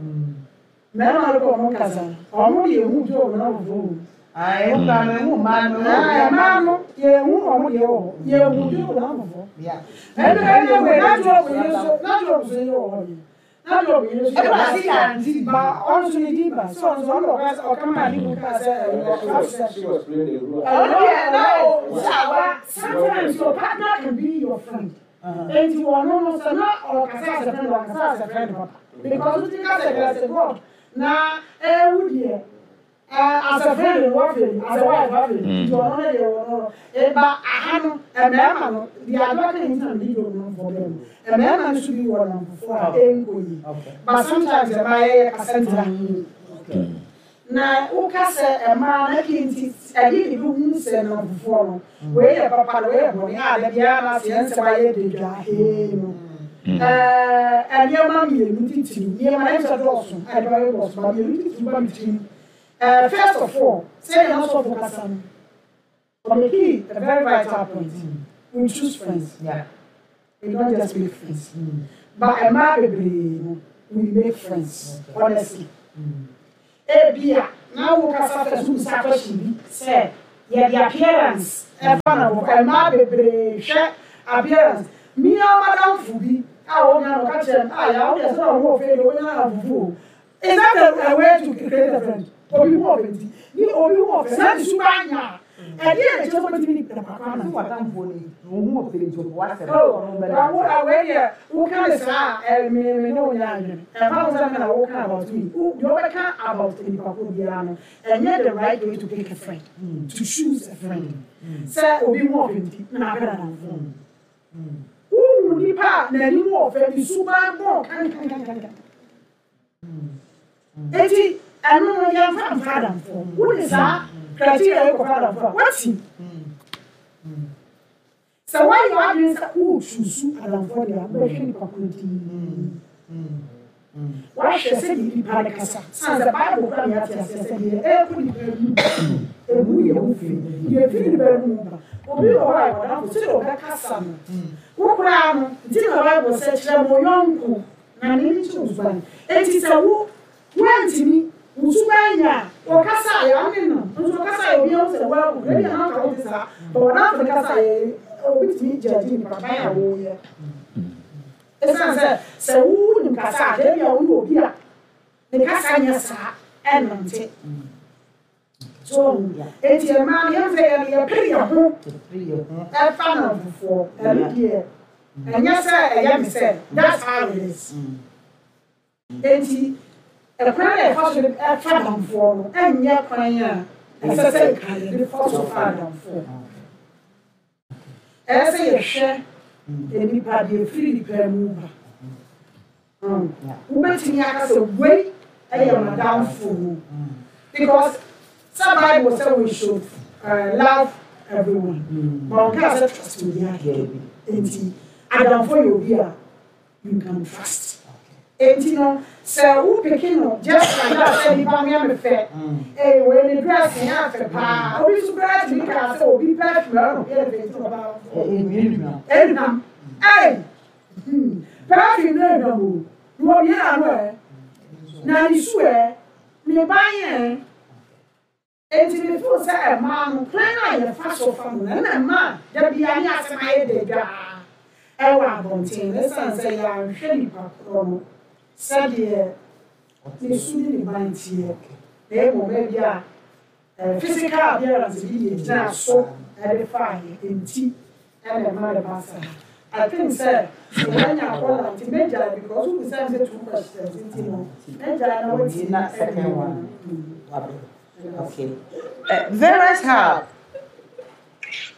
mmarima no kɔ ɔmo kasa no, ɔmo de ehu bi ɔmo na foforɔ wɔ mu. Ayi, wo kura no ehu mmaa no. Ah, mmaa no yɛhu ɔmo deɛ wɔ hɔ, yɛhu bi ɔmo na foforɔ. Yeah. Ɛnu ɛnu wei na Job yi nso na Job nso yɛ wɔ hɔ yi na Job yi nso Ɛbɛrɛ ase yɛ anti. Ba ɔno nso ne din ba so ɔno nso ɔno ɔka ɔka maa ne mu kaa sɛ ɛyɛ ɔka sɛ She was playing the role. Ɔno deɛ na o sawa. Sometimes your partner can be your friend. Eti ɔno no sɛ na ɔkasa as a friend, ɔkasa as a friend papa because o ti ka sɛ kɛlɛ sɛ God na ɛwu deɛ ɛɛ as a friend wafɛ, as a wife wafɛ, nti ɔno no deɛ ɔno no eba aha no mmarima no deɛ adwa ka ne ti na ne di ɔno fɔ bɛn mu mmarima no so bi wɔ namfofoɔ a ɛnkɔ yi. Okay. But sometimes ɛmaa yɛyɛ kasa ntira na woka sɛ mmaa na ki nti ɛde ne bi hu sɛ namfofoɔ no wei yɛ papa na wei yɛ bɔne a da biara na sɛ yɛn nsɛm ayɛ dedwa hee no ɛɛ nneɛma mmienu titiriw, nneɛma na ɛsɛ dɔɔso a ɛde bɛyɛ dɔɔso ba mmienu titiriw ba mi tirim. ɛɛ first of all, sɛ yɛn asɔfo kasa no, ɔmeki a very vital point: we choose friends. Yeah. We don't just make friends. But mmaa bebree no we make friends, honestly. Ebia na wo kasa fɛ so bisa question bi sɛ yɛde appearance ɛfa na wɔ mmaa bebree hwɛ appearance. Mmea madamfo bi a wɔn nyinaa wɔka kyerɛ no a yà wọ́n yɛ sɛ ɔho ɔfɛ de wɔn nyinaa fufu. Is that a, a way to create a friend? Obi ho ɔfɛ nti ni obi ho ɔfɛ na ne suba anya ɛdeɛ na kyerɛ sɛ ɔbɛtumi ni papa na. Sɛ watamfoɔ ni wo ho ɔfɛ nti ɔpɔ w'asɛm. Oh, wo awɛ deɛ woka ne saa ɛ me me ne wo nya adwene ɛfa ho sɛ me na woka about me. Wo deɛ wobɛka about nipa ko biara no, ɛnyɛ the right way to pick a friend, to choose a friend, sɛ obi ho ɔfɛ nti na apɛ nadamfo. Wohu nipa a n'anim ɔfɛ, ne suban bɔn kankankankan, eti ɛno no yɛmfa mfa adamfo. Wode saa criteria yi kɔfa adamfo a wati sɛ woayɛ w'adwene sɛ woresusu adamfoɔ deɛ a, wobɛhwɛ nipa koro din, wahwɛ sɛdeɛ nipa no kasa, san sɛ Bible kora ne ate aseɛ sɛ deɛ ɛkɔ nipa mu emu yɛ wo fi, deɛ ɛfiri nipa no mu ba. Obi wɔ hɔ a yɛ ɔdamfo, sɛdeɛ ɔbɛkasa no wo koraa no nti na Bible sɛ kyerɛ mo yɔnko na ne nkyerɛ wo suban. Enti sɛ wo woantumi wo suban nya a, ɔkasa a yɛ ɔne no nso ɔkasa a obi ahu sɛ woabu ebi a nanka wote saa ba ɔdamfo no kasa a yɛ obi tumi gyagye nipa ban a wɔyɛ, ɛsiane sɛ sɛ wonim kasa a ebi a woyɛ obi a ne kasa nyɛ saa ɛnante so. Eti mmaa no yɛn sɛ yɛn yɛpere yɛn ho ɛfa namfofoɔ. Ɛno deɛ ɛnyɛ sɛ ɛyɛ me sɛ that's how it is. Eti ɛkwan a yɛfa so de ɛfa damfoɔ no ɛnyɛ kwan a ɛsɛ sɛ nka yɛde fa so fa damfoɔ. Ɛyɛ sɛ yɛhwɛ nipa deɛ efiri nipa mu ba. Wobɛtumi aka sɛ wei ɛyɛ madamfo, because sɛ Bible sɛ we should uh, love everyone, but ɔnka sɛ trust obi akeke. Nti adamfo yɛ obi a you can trust. Enti no sɛ wo pick no just like that sɛ nipa no yɛ me fɛ, ee, wei ne dress yɛ afɛ paa, obi nso koraa tumi kaa sɛ obi perfume ɛno yɛ ne fɛ, nti ɔba ɛnam ɛy perfume no ɛnam o na obi yɛ ano ɛ na ne su ɛ ne ban ɛ. Enti me feel sɛ ɛmaa no kwan a yɛfa so fa no na ɛna mmaa dabi a ne asɛm ayɛ dɛ dwaa ɛwɔ abɔnten no, ɛsiane sɛ yɛanhwɛ nipa korɔ no sɛdeɛ ne su ne ne ban teɛ, na mmom ebi a physical appearance bi yɛ gyina so ɛde fa yɛ nti ɛna ɛma de ba saa. I think sɛ sɛ wɔanya akɔla nti mɛgyae, because wo bisa sɛ two questions nti no mɛgyae na wɔti. Na second one. Okay. Uh, Vera's Hub.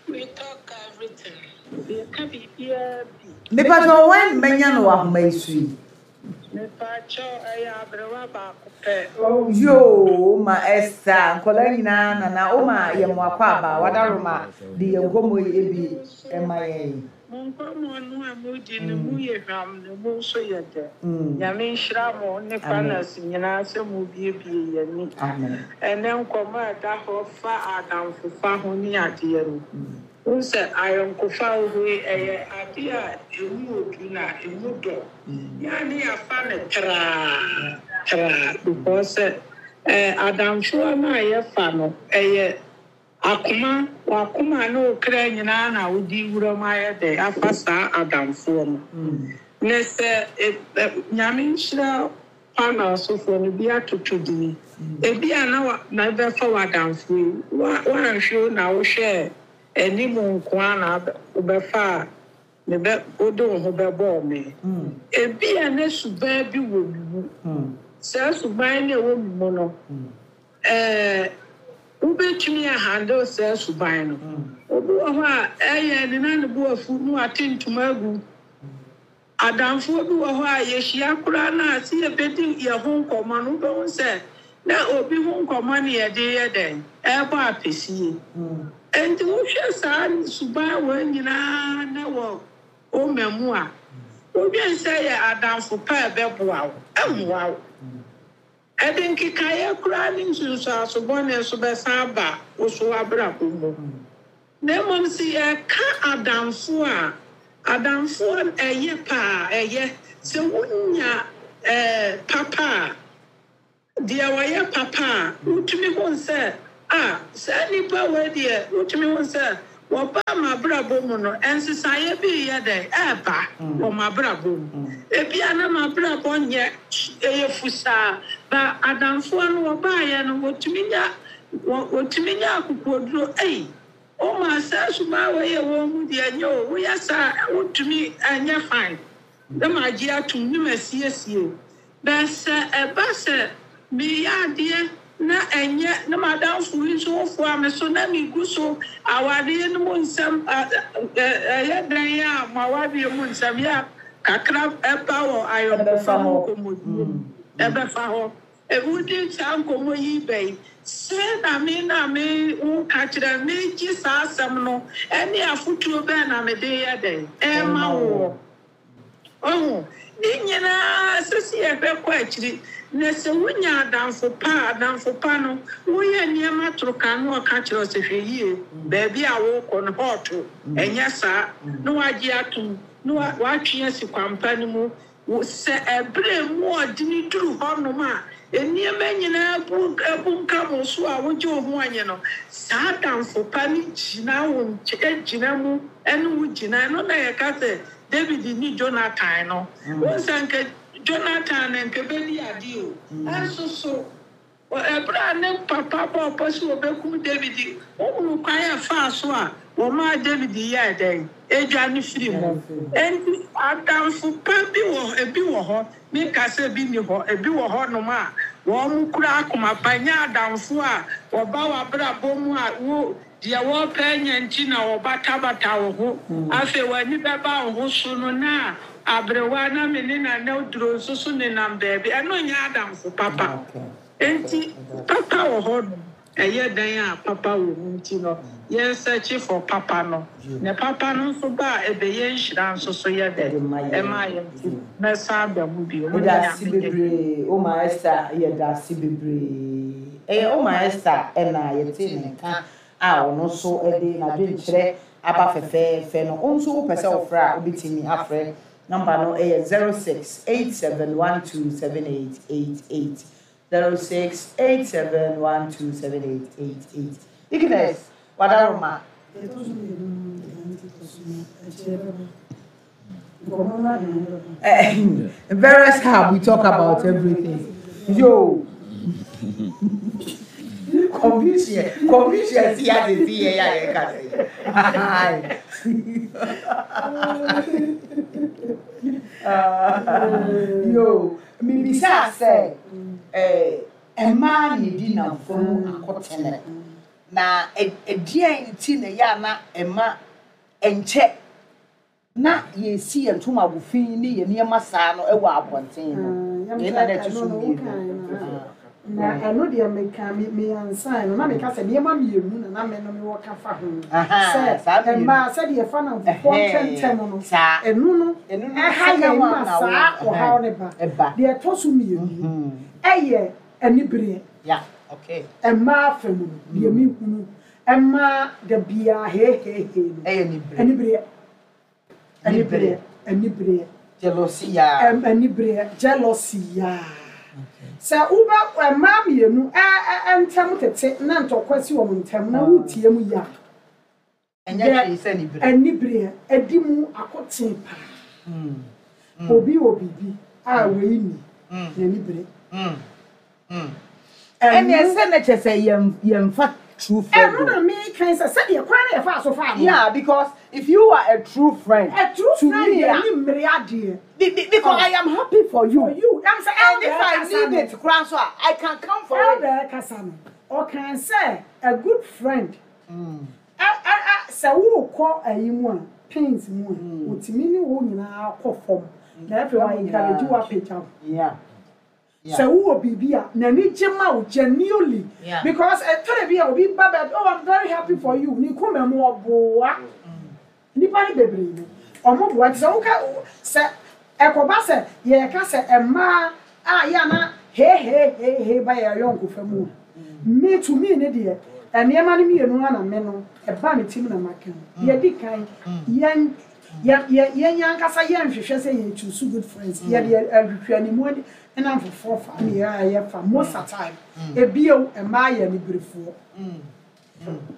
We talk everything. Yɛka biribiara bi. Mepatɔ wɔn mɛnya no wɔ ahoma yi so yi. Mepakyɛw, ɛyɛ aberewa baako pɛ. Yoo, ma Esther, nkɔla nyinaa nana o ma yɛ mo akɔ aba wadaroma de yɛn nkɔmmɔ yi ebi ɛma yɛn. Mo nkɔmmɔ no a modi no mu yɛ hwam na mu nso yɛ dɛ. Mm. Nyame nhyira mo ne panas nyinaa sɛ mo biebie yɛn ani. Amen. Ɛnɛ nkɔmmɔ a ɛda hɔ fa adamfofa ho ne adeɛ no. Wohu sɛ ayɔnkofa wɔ hɔ yi, ɛyɛ adeɛ a emu odu na emu dɔ. Yɛa ne yɛafa no traa traa because sɛ ɛɛ adamfoɔ no a yɛfa no ɛyɛ akoma, wakoma ne wo kra nyinaa na wodi wura mu ayɛ dɛ afa saa adamfoɔ no. Na sɛ ɛ- ɛ- Nyame nhyira panel sofoɔ no bi atoto dini. Ebi a na wa na ɛbɛfa w'adamfo yi wa wanhwɛ o na wohwɛ anim nko a na abɛ- wobɛfa a ne bɛ wode wo ho bɛbɔɔ me. Ebi a ne suban bi wɔ me mu. Saa suban no a ɛwɔ me mu no, ɛɛ wobɛtumi ahandle saa suban no. Obi wɔ hɔ a ɛyɛ ne na ne bo afu na wate ntoma agu. Adamfoɔ bi wɔ hɔ a yɛhyia koraa na ase yɛbɛdi yɛn ho nkɔmmɔ no, wobɛhu sɛ na obi ho nkɔmmɔ ne yɛde yɛ dɛn ɛrebɔ apɛsie. Nti wohwɛ saa suban wɔ nyinaa na wɔ ɔma mu a wodwen sɛ yɛ adamfo pa a ɛbɛboa wo, ɛmmoa wo. Ɛde nkekaeɛ koraa ne nsunsuaso bɔne nso bɛsan aba wo so w'abrabɔ mu. Na mmom sɛ yɛka adamfo a, adamfo ɛyɛ paa, ɛyɛ sɛ wonya eh, papa a, deɛ wɔyɛ papa a, wotumi hu sɛ, a saa nnipa wei deɛ, wotumi hu sɛ wɔba m'abrabɔ mu no, nsesaeɛ bi yɛ dɛ ɛɛba wɔ m'abrabɔ mu. Ebia na m'abrabɔ nyɛ, ɛyɛ fusaa, ba adamfoɔ no wɔbaeɛ no, wɔtumi nya wɔ wɔtumi nya akokoduro. Ei, ɔma saa suban wei yɛ wɔn mu deɛ, nyɛ o, woyɛ saa, wotumi ɛnyɛ fine na magye atom ne masiesie. Bɛ sɛ ɛba sɛ meyɛ adeɛ na ɛnyɛ na madamfo yi nso wofoa me so na megu so awareɛ no mu nsɛm, ɛyɛ dan a mo awareɛ mu nsɛm yɛ a kakra ɛba wɔ ayɔnkofa mu nkɔmmɔdie mu, ɛbɛfa hɔ. Wodi saa nkɔmmɔ yi bɛyi sɛ na me na me woka kyerɛ megye saa asɛm no, ɛne afotuo bɛn na mede yɛ dɛn ɛma woɔ. Ɔho ne nyinaa sisi yɛbɛkɔ akyiri na sɛ wonya adamfo pa a, adamfo pa no, woyɛ nneɛma toro ka no, ɔka kyerɛ wo sɛ hwɛ yie, baabi a wokɔ no hɔɔto ɛnyɛ saa, na wagye atom na watwe asi kwampa no mu. Sɛ ɛberɛ mu ɔdene duru hɔnom a, nneɛma nyinaa bu bunkam wo so a, wogye wo ho anye no, saa adamfo pa no gyina wo nkyɛn, gyina mu ɛne wo gyina. Ɛno na yɛka sɛ David ne Jonathan no, wɔn sɛ nka Jonathan na nka bɛdi ade o, ɛnso so ɛberɛ a ne papa bɔ ɔpɔ sɛ wɔbɛkum David, wohunu kwan a ɛfaa so a wɔmaa David yɛɛ dɛn edwa ne firi mu. Enti adamfo pa bi wɔ, ebi wɔ hɔ, meka sɛ bi ni hɔ, ebi wɔ hɔnom a wɔn mo kura akoma pa, nyɛ adamfo a wɔba w'abrabɔ mu a wo deɛ wɔpɛ nya nti na wɔbatabata wo ho. Afei w'ani bɛba wo ho so no na aberewa na me ne nana duro nso so nenam baabi, ɛno nyɛ adamfo papa. Enti papa wɔ hɔ no, ɛyɛ dan a papa wɔ mu, nti no yɛn search for papa no, na papa no nso ba a, ɛbɛyɛ nhyira nso so yɛ dɛ ɛma yɛn, nti mɛsan aba mu bio. Mo ne Yɛda ase Nyame nyɛ. Bebree, Oma Esther, yɛda ase bebree. Ɛyɛ Oma Esther ɛna yɛte ne nka a ɔno nso de n'adwenkyerɛ aba fɛfɛɛfɛ no. Wo nso wopɛ sɛ wofrɛ a, wobɛtumi afrɛ. Number no ɛyɛ zero six eight seven one two seven eight eight eight, zero six eight seven one two seven eight eight eight. Deaconess Wadaroma. Ɛtɔ so mmienu no, deɛ nti tɔ so no, akyire bɛba. Nkɔmmɔ no ade no bɛba. Eh, various hub, we talk about everything. Yo. Confucius, Confucius, ya de si ya ya ka say. Yo, mi bisa sɛ eh mmaa na edi namfo mu akɔtene na ɛdeɛn nti na ɛyɛ a na ɛma ɛnkyɛ na yɛsi yɛn ntoma ago fi ne yɛn nneɛma saa no ɛwɔ abɔnten no? Yɛn na na ɛto so mmienu. Na ɛno deɛ, meka me me ansan no na meka sɛ nneɛma mmienu na na me no mewɔ ka fa ho. Aha, saa sɛ mmienu. Mmaa sɛdeɛ ɛfa namfofoɔ ntɛntɛm no, saa ɛno no ɛno no ɛha second yɛn one ma na saa wo- ɔhaw ne ba. Ɛba. Deɛ ɛtɔ so mmienu ɛyɛ anibereɛ. Yeah, okay. Mmaa fam no, deɛ mehunu mmaa da biara hehehe no, ɛyɛ nibereɛ. Anibereɛ, anibereɛ, anibereɛ. Jealousy ya. Ɛm, anibereɛ, jealousy yaa. Sɛ wobɛ mmaa mmienu ɛ ɛ ntɛm tete na ntɔkwa si wɔn ntɛm na wotie mu yia, ɛnyɛ hwee sɛ nibereɛ. Anibereɛ ɛdi mu akoten paa. Obi wɔ biribi a wei ni n'ani bere. Ɛnna ɛsɛ na kyerɛ sɛ yɛn yɛnfa true friend. Ɛno na meka sɛ sɛdeɛ kwan na yɛfa so fa no. Yeah, because if you are a true friend, a true to friend me, yɛ ah, ni mmere adeɛ. be, be, because I am happy for you. For you ɛm sɛ And if I need it, koraa so a, I can come for it. Elder kasa no, ɔkan sɛ a good friend ɛ ɛ ɛ sɛ wokɔ ayi mu a, pains mu a, otumi ne wo nyinaa kɔ fam na afei wa encourage wo, apagya wo. Yeah. Yeah. Sɛ wowɔ biribi a, n'ani gye ma wo genuinely, Yeah. because ɛtɔrɔ bi a obi ba baabi, "Oh, I'm very happy for you," ne kuma mu ɔboa nipa ne bebree no, ɔmo boa. Nti sɛ woka sɛ ɛkɔba sɛ yɛka sɛ mmaa a yɛ ana hehehehe ba yɛ ayɔnkofa mu a, me to me ne deɛ, nneɛma no mmienu ana me no ɛba me tim na maka no. Yɛdi kan, yɛn Yɛ yɛ yɛn ankasa yɛnhwehwɛ sɛ yɛ choose good friends. Yɛde ahwehwɛ animu ani ɛna foforɔ fa ne yɛ a yɛfa most of time. Ebio mmaa yɛ aniberefoɔ.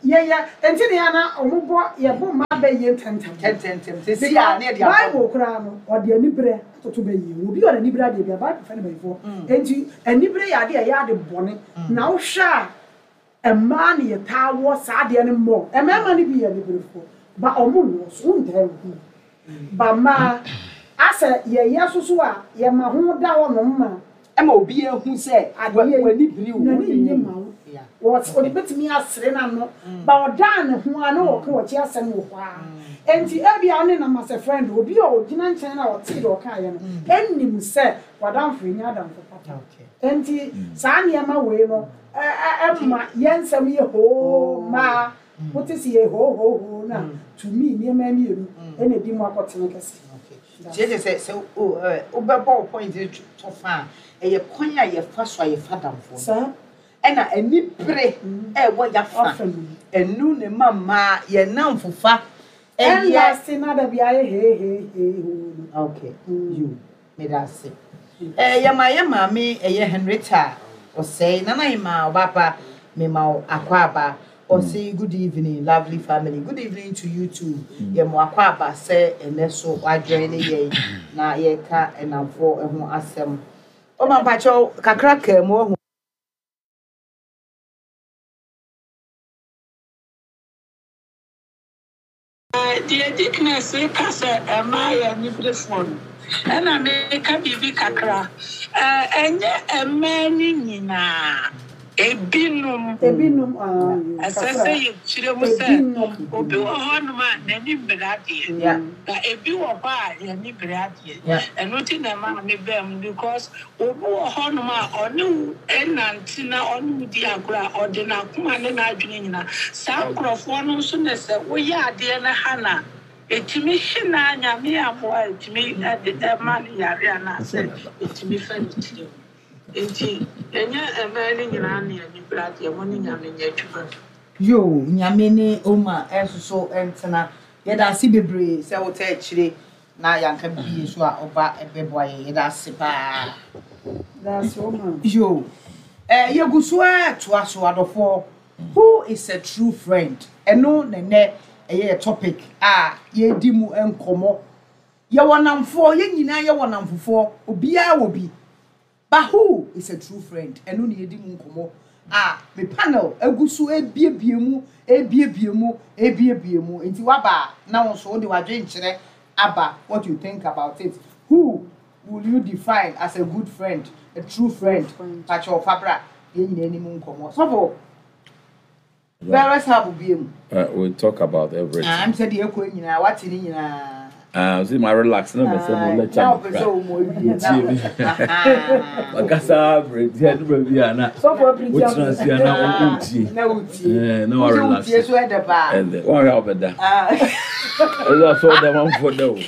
Yɛyɛ nti ne yɛn na ɔmo bɔ yɛbɔ mmaa bɛyɛ ntɛntɛm. Ntɛntɛm sisi a ne yɛde abɔ. Bible koraa no, ɔde anibere atoto bɛyie. Obi ɔde anibere adeɛ bi a Bible fɛ no bɛyifoɔ. Nti anibere yɛ adeɛ a ɛyɛ ade bɔne. Na wohwɛ a, mmaa ne yɛtaa wɔ saa adeɛ no mmɔ. Mmarima no bi yɛ aniberefoɔ ba, ɔmo nnɔ so wontaa nhu ba. Mmaa asɛ yɛyɛ soso a, yɛma ho da hɔ nom ma ɛma obi ehu sɛ adeɛ w'ani biri wo. N'ani nye ma wo. Yeah. Wɔt ɔde bɛtumi asere n'ano ba, ɔdaa ne ho a na ɔka wɔkyi asɛm wɔ hɔ a. Nti ebi a ɔne nam as a friend, obi a ɔgyina nkyɛn na ɔte deɛ ɔkaeɛ no ɛnim sɛ wadamfo enya adamfo papa. Okay. Nti saa nneɛma wei no ɛ ɛ ɛma yɛn nsɛm yɛ hoo. Mmaa wote si yɛ hoo hoo hoo na tumi nneɛma mmienu ɛna edi mu akɔtene kɛse. Kyerɛ sɛ sɛ o ɛ wobɛbɔ wo point no to fa a, ɛyɛ kwan a yɛfa so a yɛfa damfoɔ no. Saa. Ɛna anibere ɛwɔ yafa. Afa mu. Ɛnu ne ma mmaa yɛn namfofa ɛyɛ. Ɛnna se na dabi ayɛ hee hee hee hoo no. Okay, you meda ase. Ɛɛ yɛma yɛ maame ɛyɛ Henrietta Ɔsɛe nana yi ma ɔbaapa mema wo akɔ aba. Ɔse good evening, lovely family. Good evening to you too. Yɛ mo akɔ aba sɛ ɛnɛ so wadwɛn ne yɛn na yɛka ɛnamfoɔ ho asɛm. Ɔma mpakyɛw kakra kaa mu ɔho. Deɛ Deaconess ka sɛ mmaa yɛ aniberefoɔ no, ɛna meka biribi kakra. Ɛ, ɛnyɛ mmaa no nyinaa, ebinom. Ebinom aa Ɛsɛ sɛ yɛkyerɛ mu sɛ ebinom. Obi wɔ hɔnom a n'ani mmere adeɛ, Yeah. na ebi wɔ hɔ a yɛni bere adeɛ. Yeah. Ɛno nti na ɛma me bɛn mu, because obi wɔ hɔnom a ɔne wo ɛnante na ɔne wo di agorɔ a, ɔde n'akoma ne n'adwene nyinaa. Saa nkurɔfoɔ no nso na sɛ woyɛ adeɛ no ha na ɛtumi hye na Nyame amoa a, ɛtumi ɛde ɛma no yare anaasɛ ɛtumi fa ne tiri mu. Nti ɛnyɛ mmaa no nyinaa ne ani bere adeɛ. Mo ne Nyame nyɛ adwuma. Yo, Nyame ne oma ɛsoso ɛntena. Yɛda ase bebree sɛ wotɛ akyire na yɛanka bibie so a ɔba ɛbɛboa yɛ. Yɛda ase paa. That's all, man. Yo, eh, yɛgu so a toa so. Adɔfoɔ, who is a true friend? Ɛno nɛnɛ ɛyɛ yɛ topic a yɛdi mu nkɔmmɔ. Yɛwɔ namfoɔ, yɛn nyinaa yɛwɔ namfofoɔ, obiara wɔ bi, but who is a true friend? Ɛno ne yɛdi mu nkɔmmɔ a me panel egu so ebiebie mu, ebiebie mu, ebiebie mu. Nti waba a, na wɔn nso wode wadwenkyerɛ aba, what you think about it. Who will you define as a good friend, a true friend? Friend. Pakyɛ ɔfa yɛn nyinaa anim nkɔmmɔ. Sɔfo various hub bie mu. Uh, we talk about everything. Ah, m sɛ deɛ ɛkɔ nyinaa wate ne nyinaa. Ah, see, my relax na me say mo lecture. Na ɔpɛ sɛ ɔmo awie na Makasa bere ti ɛdu baabi a na Sɔfo apirikyi. wotena ase a na wotie. Na wotie. Eh, na wa Wosɛ relax. wotie so ɛdɛ paa. Ɛdɛ wɔn ahwɛ a ɔbɛda. Ah. Ɛdɛ asɔ ɔda wɔn afɔ da o.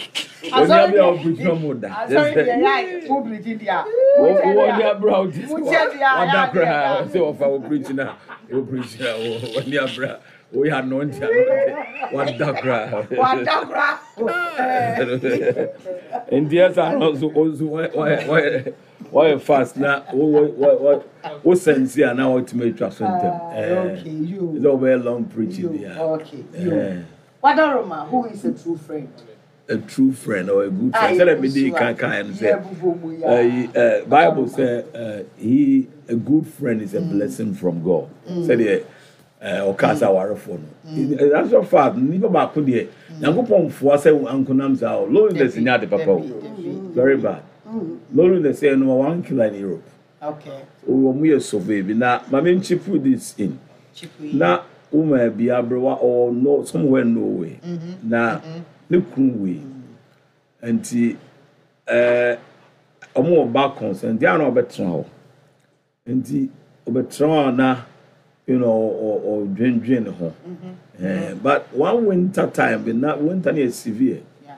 Oni abi a ɔpirikyi na ɔmo da. Asɔre deɛ yɛ a mo pirikyi deɛ a. Wɔn ni abira a ɔte Wotie deɛ a, wada yɛ koraa adeɛ sɛ wɔfa wɔ pirikyi na wɔ pirikyi na wɔn ni abira wɔyɛ anɔnti anɔnti wada koraa. Wada koraa. Nti ɛsɛ ano nso nso wɔyɛ wɔyɛ wɔyɛ fast na wɔ wɔ wɔ wɔ sɛnsi a na wɔtumi atwa so ntɛm. Ah, okay, you. Ɛsɛ wɔbɛyɛ long preaching You, bi a. okay, you. Wadaroma, who is a true friend? A true friend or a good Ah, friend. Sɛdeɛ mi di kan kan no sɛ yɛ mu ya. ɛyi ɛ Bible sɛ ɛ he a good friend is a blessing from God. Sɛdeɛ ɛ ɔka sɛ awarefoɔ no. In actual fact, nipa baako deɛ, Nyankopɔn foa sɛ ankonam saa o. Loneliness nyɛ ade papa o. Very bad. Loneliness yɛ number one killer in Europe. Okay. Wɔn yɛ survey bi na maame nkyi put this in. Chip yi. Na woman bi aberewa ɔwɔ no somewhere in Norway na ne kunu wei nti ɛɛ ɔmo wɔ back concern nti ana ɔbɛtena hɔ nti ɔbɛtena hɔ a na you know ɔ ɔdwendwen ne ho ɛɛ but one winter time bi na winter no yɛ severe. Yeah.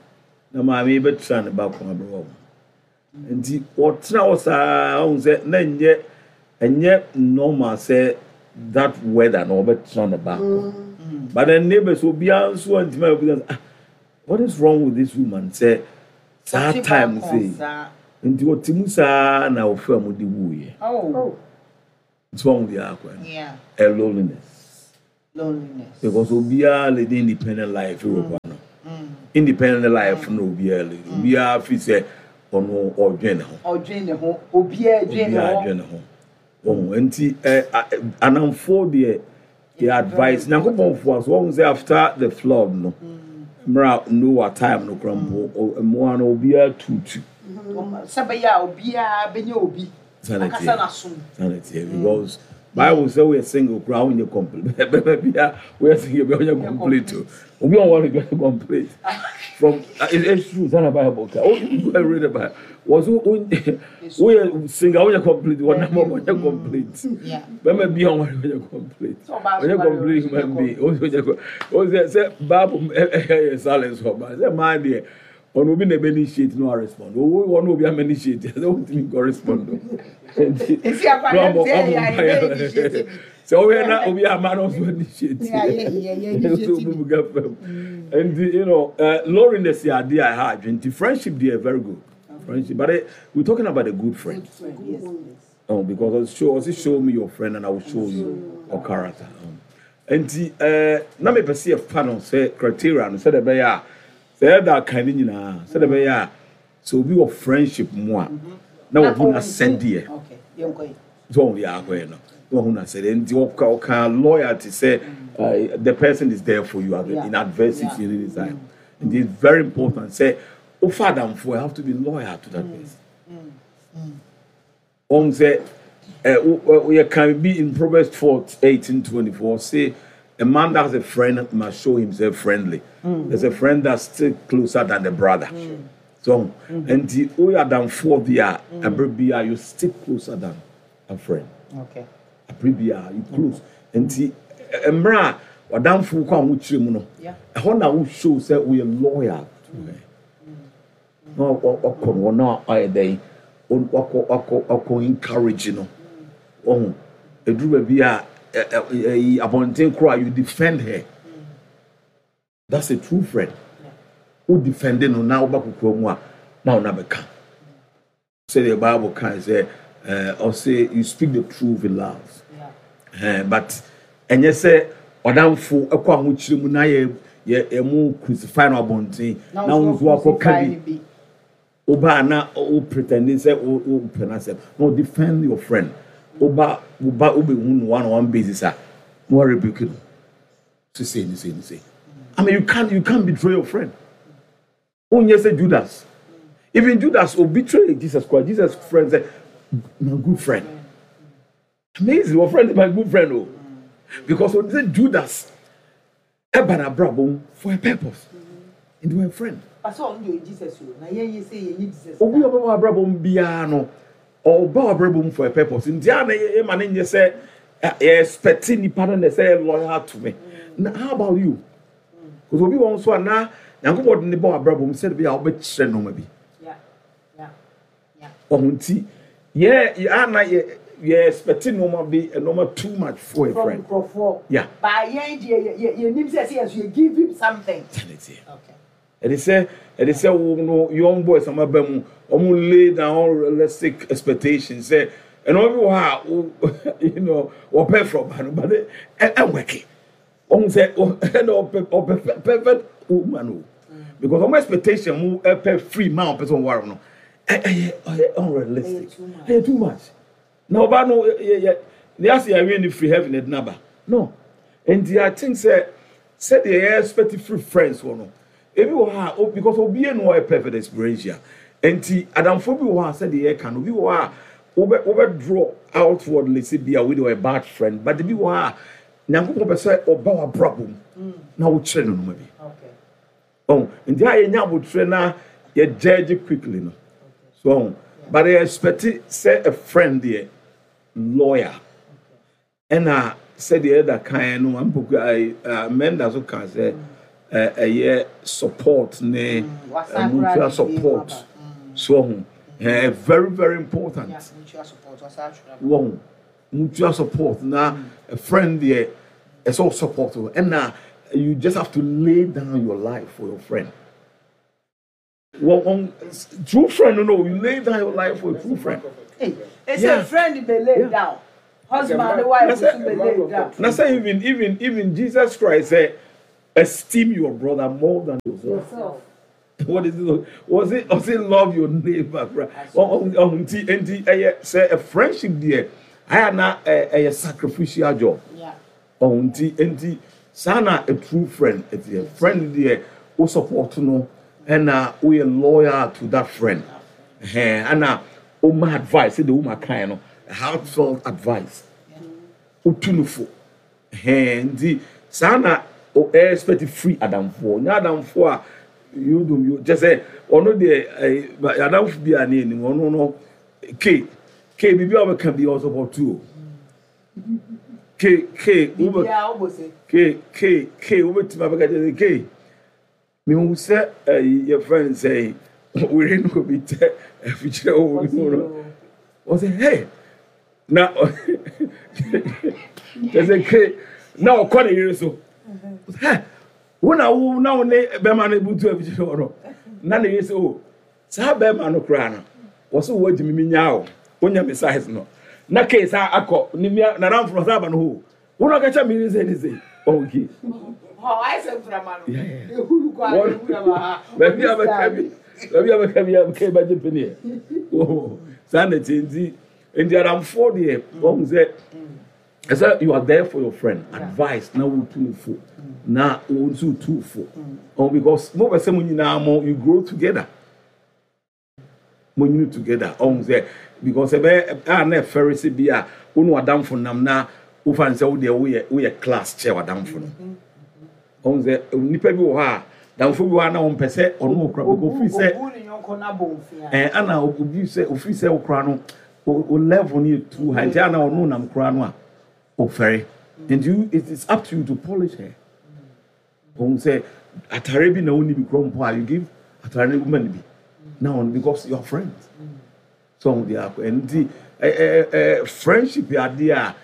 Na maame yi bɛtena ne baako aberewa mu nti ɔtena hɔ saa, ɔhun sɛ na nyɛ ɛnyɛ normal sɛ that weather na ɔbɛtena ne baako, but then neighbors obiara nso antumi a obiara ah What is wrong with this woman? Sɛ saa time sei nti ɔte mu saa na ɔfɛ mu de wuiɛ. Oh. Nti wɔn deɛ akɔ no Yeah. ɛ loneliness. Loneliness. Because obiara lead independent life wɔ hɔ no. Independent life no, obiara lead, obiara fi sɛ ɔno ɔdwen ne ho. Ɔdwen ne ho. Obiara dwen ne Obiara ho. dwen ne ho wɔn. Nti ɛ anamfoɔ deɛ, yɛ advice Nyankopɔn fo so wɔn sɛ after the flood no, mmerɛ a Noah time no kora mpo, ɔ- mmoa no obiara tutu. Sɛ bɛyɛ a obiara bɛnya obi Sanity. akasa n'asom. Sanity, because Bible sɛ woyɛ single koraa, wonyɛ complete. Bɛbɛ bia woyɛ single bia, wonyɛ complete o. Obi a ɔwɔ no complete from uh, it, it's true sanni Bible ka o. You go and read the Bible, wɔ so woyɛ single, wonyɛ complete, wɔnam wonyɛ complete. Yeah. Bɛmɛ bi a ɔwɔ wonyɛ complete. Sɛ ɔbaa so Wonyɛ ware, complete wonyɛ human being. Wonyɛ complete o. Sɛ sɛ Bible ɛ ɛ yɛ silence ɔba sɛ maa deɛ, ɔno obi na ebe initiate no a respond owo. Ɔno obi ama initiate sɛ ɔntumi nkɔ respond o. Nti Esi akwa na ɔbɔ yɛn sɛ ɔbɔ yɛ ayɛ mpaeɛ initiate bi. Sɛ ɔyɛ na obi ama na ɔso initiate. Yeah, yeah, yeah, yeah, initiate So bi. obi ga fam. Nti you know uh, loneliness yɛ adeɛ a ɛha adwene. Nti friendship deɛ, very good friendship, but eh, we talking about a good friend. Friend, yes, please. Oh, because show also show me your friend and I will show you your character. Um, nti eh, na mepɛ sɛ yɛfa no sɛ criteria no, sɛdeɛ ɛbɛyɛ a sɛ ɛda kan no nyinaa, sɛdeɛ ɛbɛyɛ a sɛ obi wɔ friendship mu a, na wɔhu n'asɛdeɛ. Okay, yɛnkɔ yi. Sɛ ɔhu deɛ akɔyɛ no, na wɔhu n'asɛdeɛ. Nti ɔka ɔka loyalty sɛ uh, the person is there for you Yeah. in adversity Yeah. in any time. Nti it's very important sɛ wofa adamfo, you have to be loyal to that person. Wɔn sɛ ɛ wo yɛ kan bi in Proverbs four eighteen twenty four, say a man that has a friend must show himself friendly. There's a friend that's still closer than the brother. So nti woyɛ adamfoɔ bi a, ɛbere bi a you stick closer than a friend. Okay. Abere bi a you close. Nti ɛ- mmerɛ a wadamfo kɔ ahokyere mu no, Yeah. ɛhɔ na wo show sɛ woyɛ loyal to her, na ɔkɔ no wɔn a ɔyɛ dɛn, wakɔ wakɔ wakɔ encourage no. Ɔho eduru baabi a ɛ ɛ ɛyi abɔnten koro a, you defend her. That's a true friend. Wo defend no na woba kokoa mu a, na wo na bɛka sɛdeɛ Bible kan sɛ ɛɛ ɔsɛ you speak the truth in love. Yeah. ɛɛ but ɛnyɛ sɛ ɔdanfo ɛkɔ ahokyere mu na yɛ yɛ ɛmu crucify no abɔnten na wo nso akɔ ka bi. Woba na wo pretend sɛ wo wo pɛ n'asɛm na wo defend your friend. Woba woba wobɛhu no one on one basis a, na wa rebuke no so say ni say ni say. I mean, you can't you can't betray your friend. Wonyɛ sɛ Judas. Even Judas o betray Jesus Christ, Jesus friend say, "My good friend." Amazing, your friend is my good friend o, because o say Judas ɛba n'abrabɔ mu for a purpose, nti wɔyɛ friend. Pastor, ɔno deɛ ɔyɛ Jesus o. Na yɛn yɛ sɛ yɛn nye Jesus. Obi a ɔbɛba w'abrabɔ mu biara no, ɔba w'abrabɔ mu for a purpose. Nti a na yɛ ma ne nyɛ sɛ ɛ yɛ expect nipa no na ɛsɛ yɛ loyal to me. Na how about you? Because obi wɔn nso a na Nyankopɔn de ne ba w'abrabɔ mu sɛde bi a ɔbɛkyerɛ nneɛma bi. Yeah. Yeah. Yeah. Ɔho nti yɛ yɛ a na yɛ yɛ expect nneɛma bi, nneɛma too much for a From friend. nkurɔfoɔ. Yeah. Ba yɛn deɛ, yɛ yɛ yɛnim sɛ sɛ yɛn so yɛ give him something. Sɛde teɛ. Okay. Ɛde sɛ ɛde sɛ wo no, young boys ama ba mu, ɔmo lay down unrealistic expectations sɛ ɛnna bi wɔ hɔ a wo you know wɔpɛ from ba no, but ɛ ɛwɛke ɔmo sɛ ɛna ɔpɛ ɔpɛ perfect woman o, because ɔmo expectation mu ɛpɛ free man ɔpɛ sɛ ɔware no, ɛ ɛyɛ ɔyɛ unrealistic. Ɛyɛ too much. Ɛyɛ too much. Na ɔba no yɛ yɛ ne ase yɛ ne free heaven ɛde naba no. Nti I think sɛ sɛdeɛ yɛ expect free friends wɔ no, ebi wɔ ha o, because obi yɛ no ɔyɛ perfect experiential. Nti adamfo bi wɔ ha, sɛdeɛ yɛka no, obi wɔ ha a wobɛ wobɛ draw outwardly sɛ bi a wei de ɔyɛ bad friend, but ebi wɔ ha a Nyankopɔn pɛ sɛ ɔba w'abrabɔ mu na wokyerɛ no noma bi. Okay. Ɔn nti a yɛnya abotire na yɛ judge quickly no so ɔn, but yɛ expect sɛ a friend deɛ, loyal. Ɛna sɛdeɛ ɛda kan no ampoku ayi mɛnda so kan sɛ ɛ ɛyɛ support ne Wasan ɛ, mutual koraa de bi support aba. Mm. so ɔho ɛ very very important. Yeah, mutual support. Wasan atwerɛ. Wɔn mutual support na a friend deɛ, ɛsɛ o support o. Ɛna you just have to lay down your life for your friend. Well, on, true friend, no, no, you lay down your life for a true friend. Hey, it's Yeah. a friend be laid Yeah. down. Husband and wife That's be laid down. Now say even even even Jesus Christ said, esteem your brother more than yourself. Yourself. What is it? Was it was it love your neighbor? Oh, oh, nti nti ɛyɛ sɛ a friendship deɛ ayɛ na ɛyɛ sacrificial job. Yeah. Oh, nti nti saa na a true friend ɛti friend deɛ o support no ɛna o yɛ loyal to that friend. Ɛhɛn ɛna o ma advice ɛde o ma kan no heartfelt advice. O tu no fo. Ɛhɛn nti saa na o expect free adamfoɔ nyɛ adamfoɔ a you do you just say ɔno deɛ ɛɛ adamfo bi a ne anim ɔno no k k biribi a ɔbɛka bi ɔsopɔto o k k wobɛ Biribiara wobɔ se. k k k wobɛtumi abɛka kyerɛ sɛ k mehu sɛ ɛyi yɛfrɛ no sɛ were no obi tɛ afikyerɛ wɔ obi mu no ɔsɛ hey na kyerɛ sɛ k na ɔkɔ ne yere so hɛ wo na wo na wo ne bɛrima no butu afikyerɛ hɔ no na ne yere sɛ o saa bɛrima no koraa no wɔsɛ wo agyimi mi nyaa o wonya me size no na k saa akɔ ne mia nadamfo no saa aba no hɔ wo na ɔka kyerɛ me yere sɛ ne sɛ ɔwɔ Hɔ ayɛ sɛ mframa no. Yeah, yeah. Ehuru kɔ a ehuru aba ha. Baabi a bɛka bi baabi a bɛka bi a bɛka bɛgye pene saa na ti nti nti adamfoɔ deɛ wɔn sɛ ɛsɛ you are there for your friend advice na wo tu fo na wo nso tu fo oh because mo bɛ sɛ mo nyinaa mo you grow together mo nyini together ɔn sɛ because ɛbɛ a na ɛfɛre sɛ bi a wo ne w'adamfo nam na wofa ne sɛ wo deɛ woyɛ woyɛ class kyɛ w'adamfo no ɔn sɛ nipa bi wɔ hɔ a damfo bi wɔ hɔ a na wɔn pɛ sɛ ɔno okura because ofiri sɛ Obu ne yɔnko n'abɔ nfia. ɛɛ ana obi sɛ ofiri sɛ okura no o o level no yɛ too high nti ana ɔno nam kura no a ofɛre and you it is up to you to polish her ɔn sɛ atare bi na wɔn ni bi kura mpo a you give atare no woman bi na ɔno because you are friends so ɔn de akɔ ɛnti ɛ ɛ ɛ friendship yɛ adeɛ a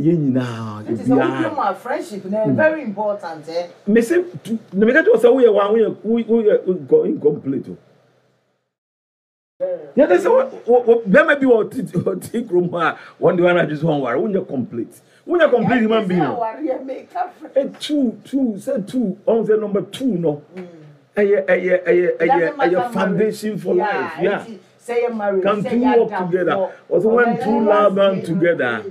yɛn nyinaa Nti sɛ wodwe obiara mu a friendship na ɛyɛ very important eh. mese tu na meka kyerɛ sɛ woyɛ wa woyɛ woyɛ incomplete o yɛde sɛ wo wo bɛrima bi wɔ ɔte ɔte kurom hɔ a wɔn de wɔn anadwo so wɔn ware wonyɛ complete wonyɛ complete human being o Awareɛ meka friend. e two two sɛ two ɔn sɛ number two no ɛyɛ ɛyɛ ɛyɛ ɛyɛ Doesn't matter ɛyɛ foundation for Yeah, life yeah nti sɛ yɛ marriage can sɛ two yɛ work together adamfoɔ. ɔsɛ when two love them together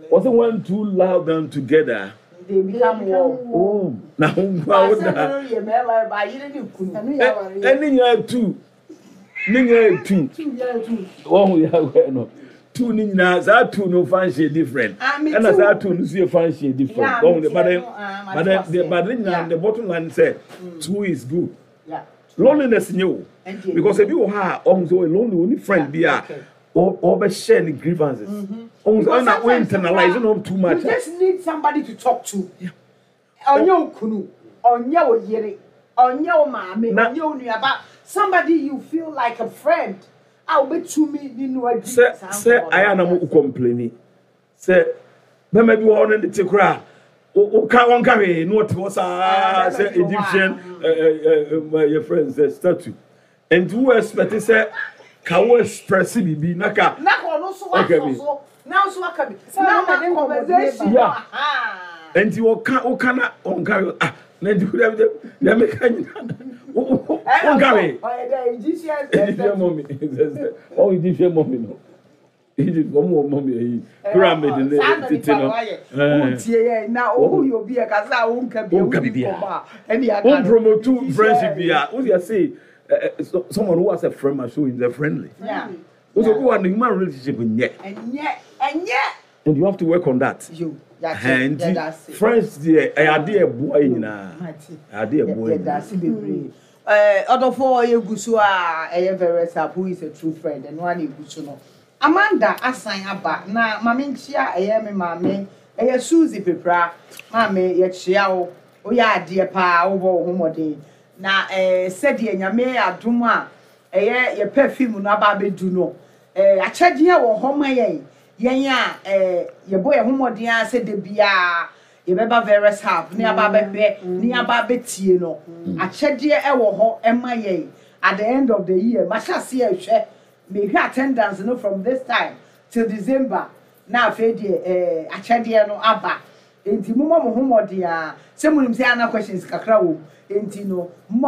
ɔsɛ when two love them together They become one. oh na ho nkwa wo Baasa da no yɛ mmarima ba yere ne kunu. Ɛno yɛ awareɛ. ɛne nyinaa two ne nyinaa yɛ two Two yɛ two. wɔn ho yɛ awɛ no two ne nyinaa saa two no function different Ah, me ɛna too. saa two no nso yɛ function different Yeah, wɔn me de but too, then ah, but mate then the aseɛ. but ne nyinaa Yeah. the bottom line sɛ two is good Yeah. loneliness nye o Ɛnti because ebi wɔ ha a ɔhun sɛ ɔyɛ lonely oni friend bi a okay. ɔ ɔbɛ share ne grievances ɔhun sɛ Because ɔna o sometimes internalize no too much You just need somebody to talk to. Ɔnyɛ wo kunu, ɔnyɛ wo yere, ɔnyɛ wo maame, Na- ɔnyɛ wo nuaba. Somebody you feel like a friend. A wobɛtumi ne no adi sɛ saa sɛ nkɔmmɔ no. ayɛ anam o complain sɛ bɛrima bi wɔ hɔ no ne te koraa o ka wɔn ka hwee na ɔte hɔ saa Ah, sɛ bɛrima bi wɔ hɔ a, Egyptian ɛ ɛ ɛ yɛ friend sɛ statue nti wo expect sɛ ka wo express bibi na ka Na ka ɔno nso Okay, wasɔ bi. so. Na nso aka bi. Sɛ Na ɔno ma na de nkɔmmɔdie conversation. ba. Yeah. Aha. nti wɔka wɔka na ɔnka hwee ah na nti wo dɛ dɛ meka nyina wo wo Ɛna wɔnka ɔsɔ, hwee ɔyɛ dɛ Egyptian Egyptian mummy ɔwɔ Egyptian mummy no Egypt wɔn wɔ mummy ayi pyramid ne Saa na tete nipa no no ayɛ. ɛɛ. Wotie yɛ na ohu yɛ obi yɛ kasa a wonka bi Wonka wodi biribiara. nkɔmmɔ a, ɛne aka Won no. promote Egyptian- friendship bi a wo yɛ say eh, so, someone who has a friend must show him they're friendly. Yeah. Wo so go and human relationship nyɛ Ɛnyɛ ɛnyɛ. and you have to work on that. Yo, yate, Ɛhɛn, yɛda nti ase. friends deɛ ɛyɛ adeɛ ɛboa yɛ nyinaa. Mate. Ɛyɛ adeɛ ɛboa yɛ Yɛda nyinaa. ase bebree. Ɛɛ ɔdɔfo yɛgu so a ɛyɛ very sharp who is a true friend ɛno ara na egu so no. Amanda asan aba na maame nkyia ɛyɛ me maame ɛyɛ Suzy Pepra maame yɛkyia wo woyɛ adeɛ paa wobɔ wo ho mmɔden na ɛɛ sɛdeɛ nyame adom a ɛyɛ yɛ perfume no aba abɛdu no ɛɛ akyɛdeɛ wɔ hɔ ma yɛn yɛn a ɛɛ yɛbɔ yɛn ho mmɔden a sɛ de biara yɛbɛba various hub ne aba abɛhwɛ ne aba abɛtie no akyɛdeɛ ɛwɔ hɔ ɛma yɛn At the end of the year, mahyɛ aseɛ ɛhwɛ, mehwɛ attendance no from this time till December, na afei deɛ ɛɛ akyɛdeɛ no aba. Nti mommɔ mo ho mmɔden a sɛ monim sɛ ana questions kakra wɔ mu, nti no mommɔ.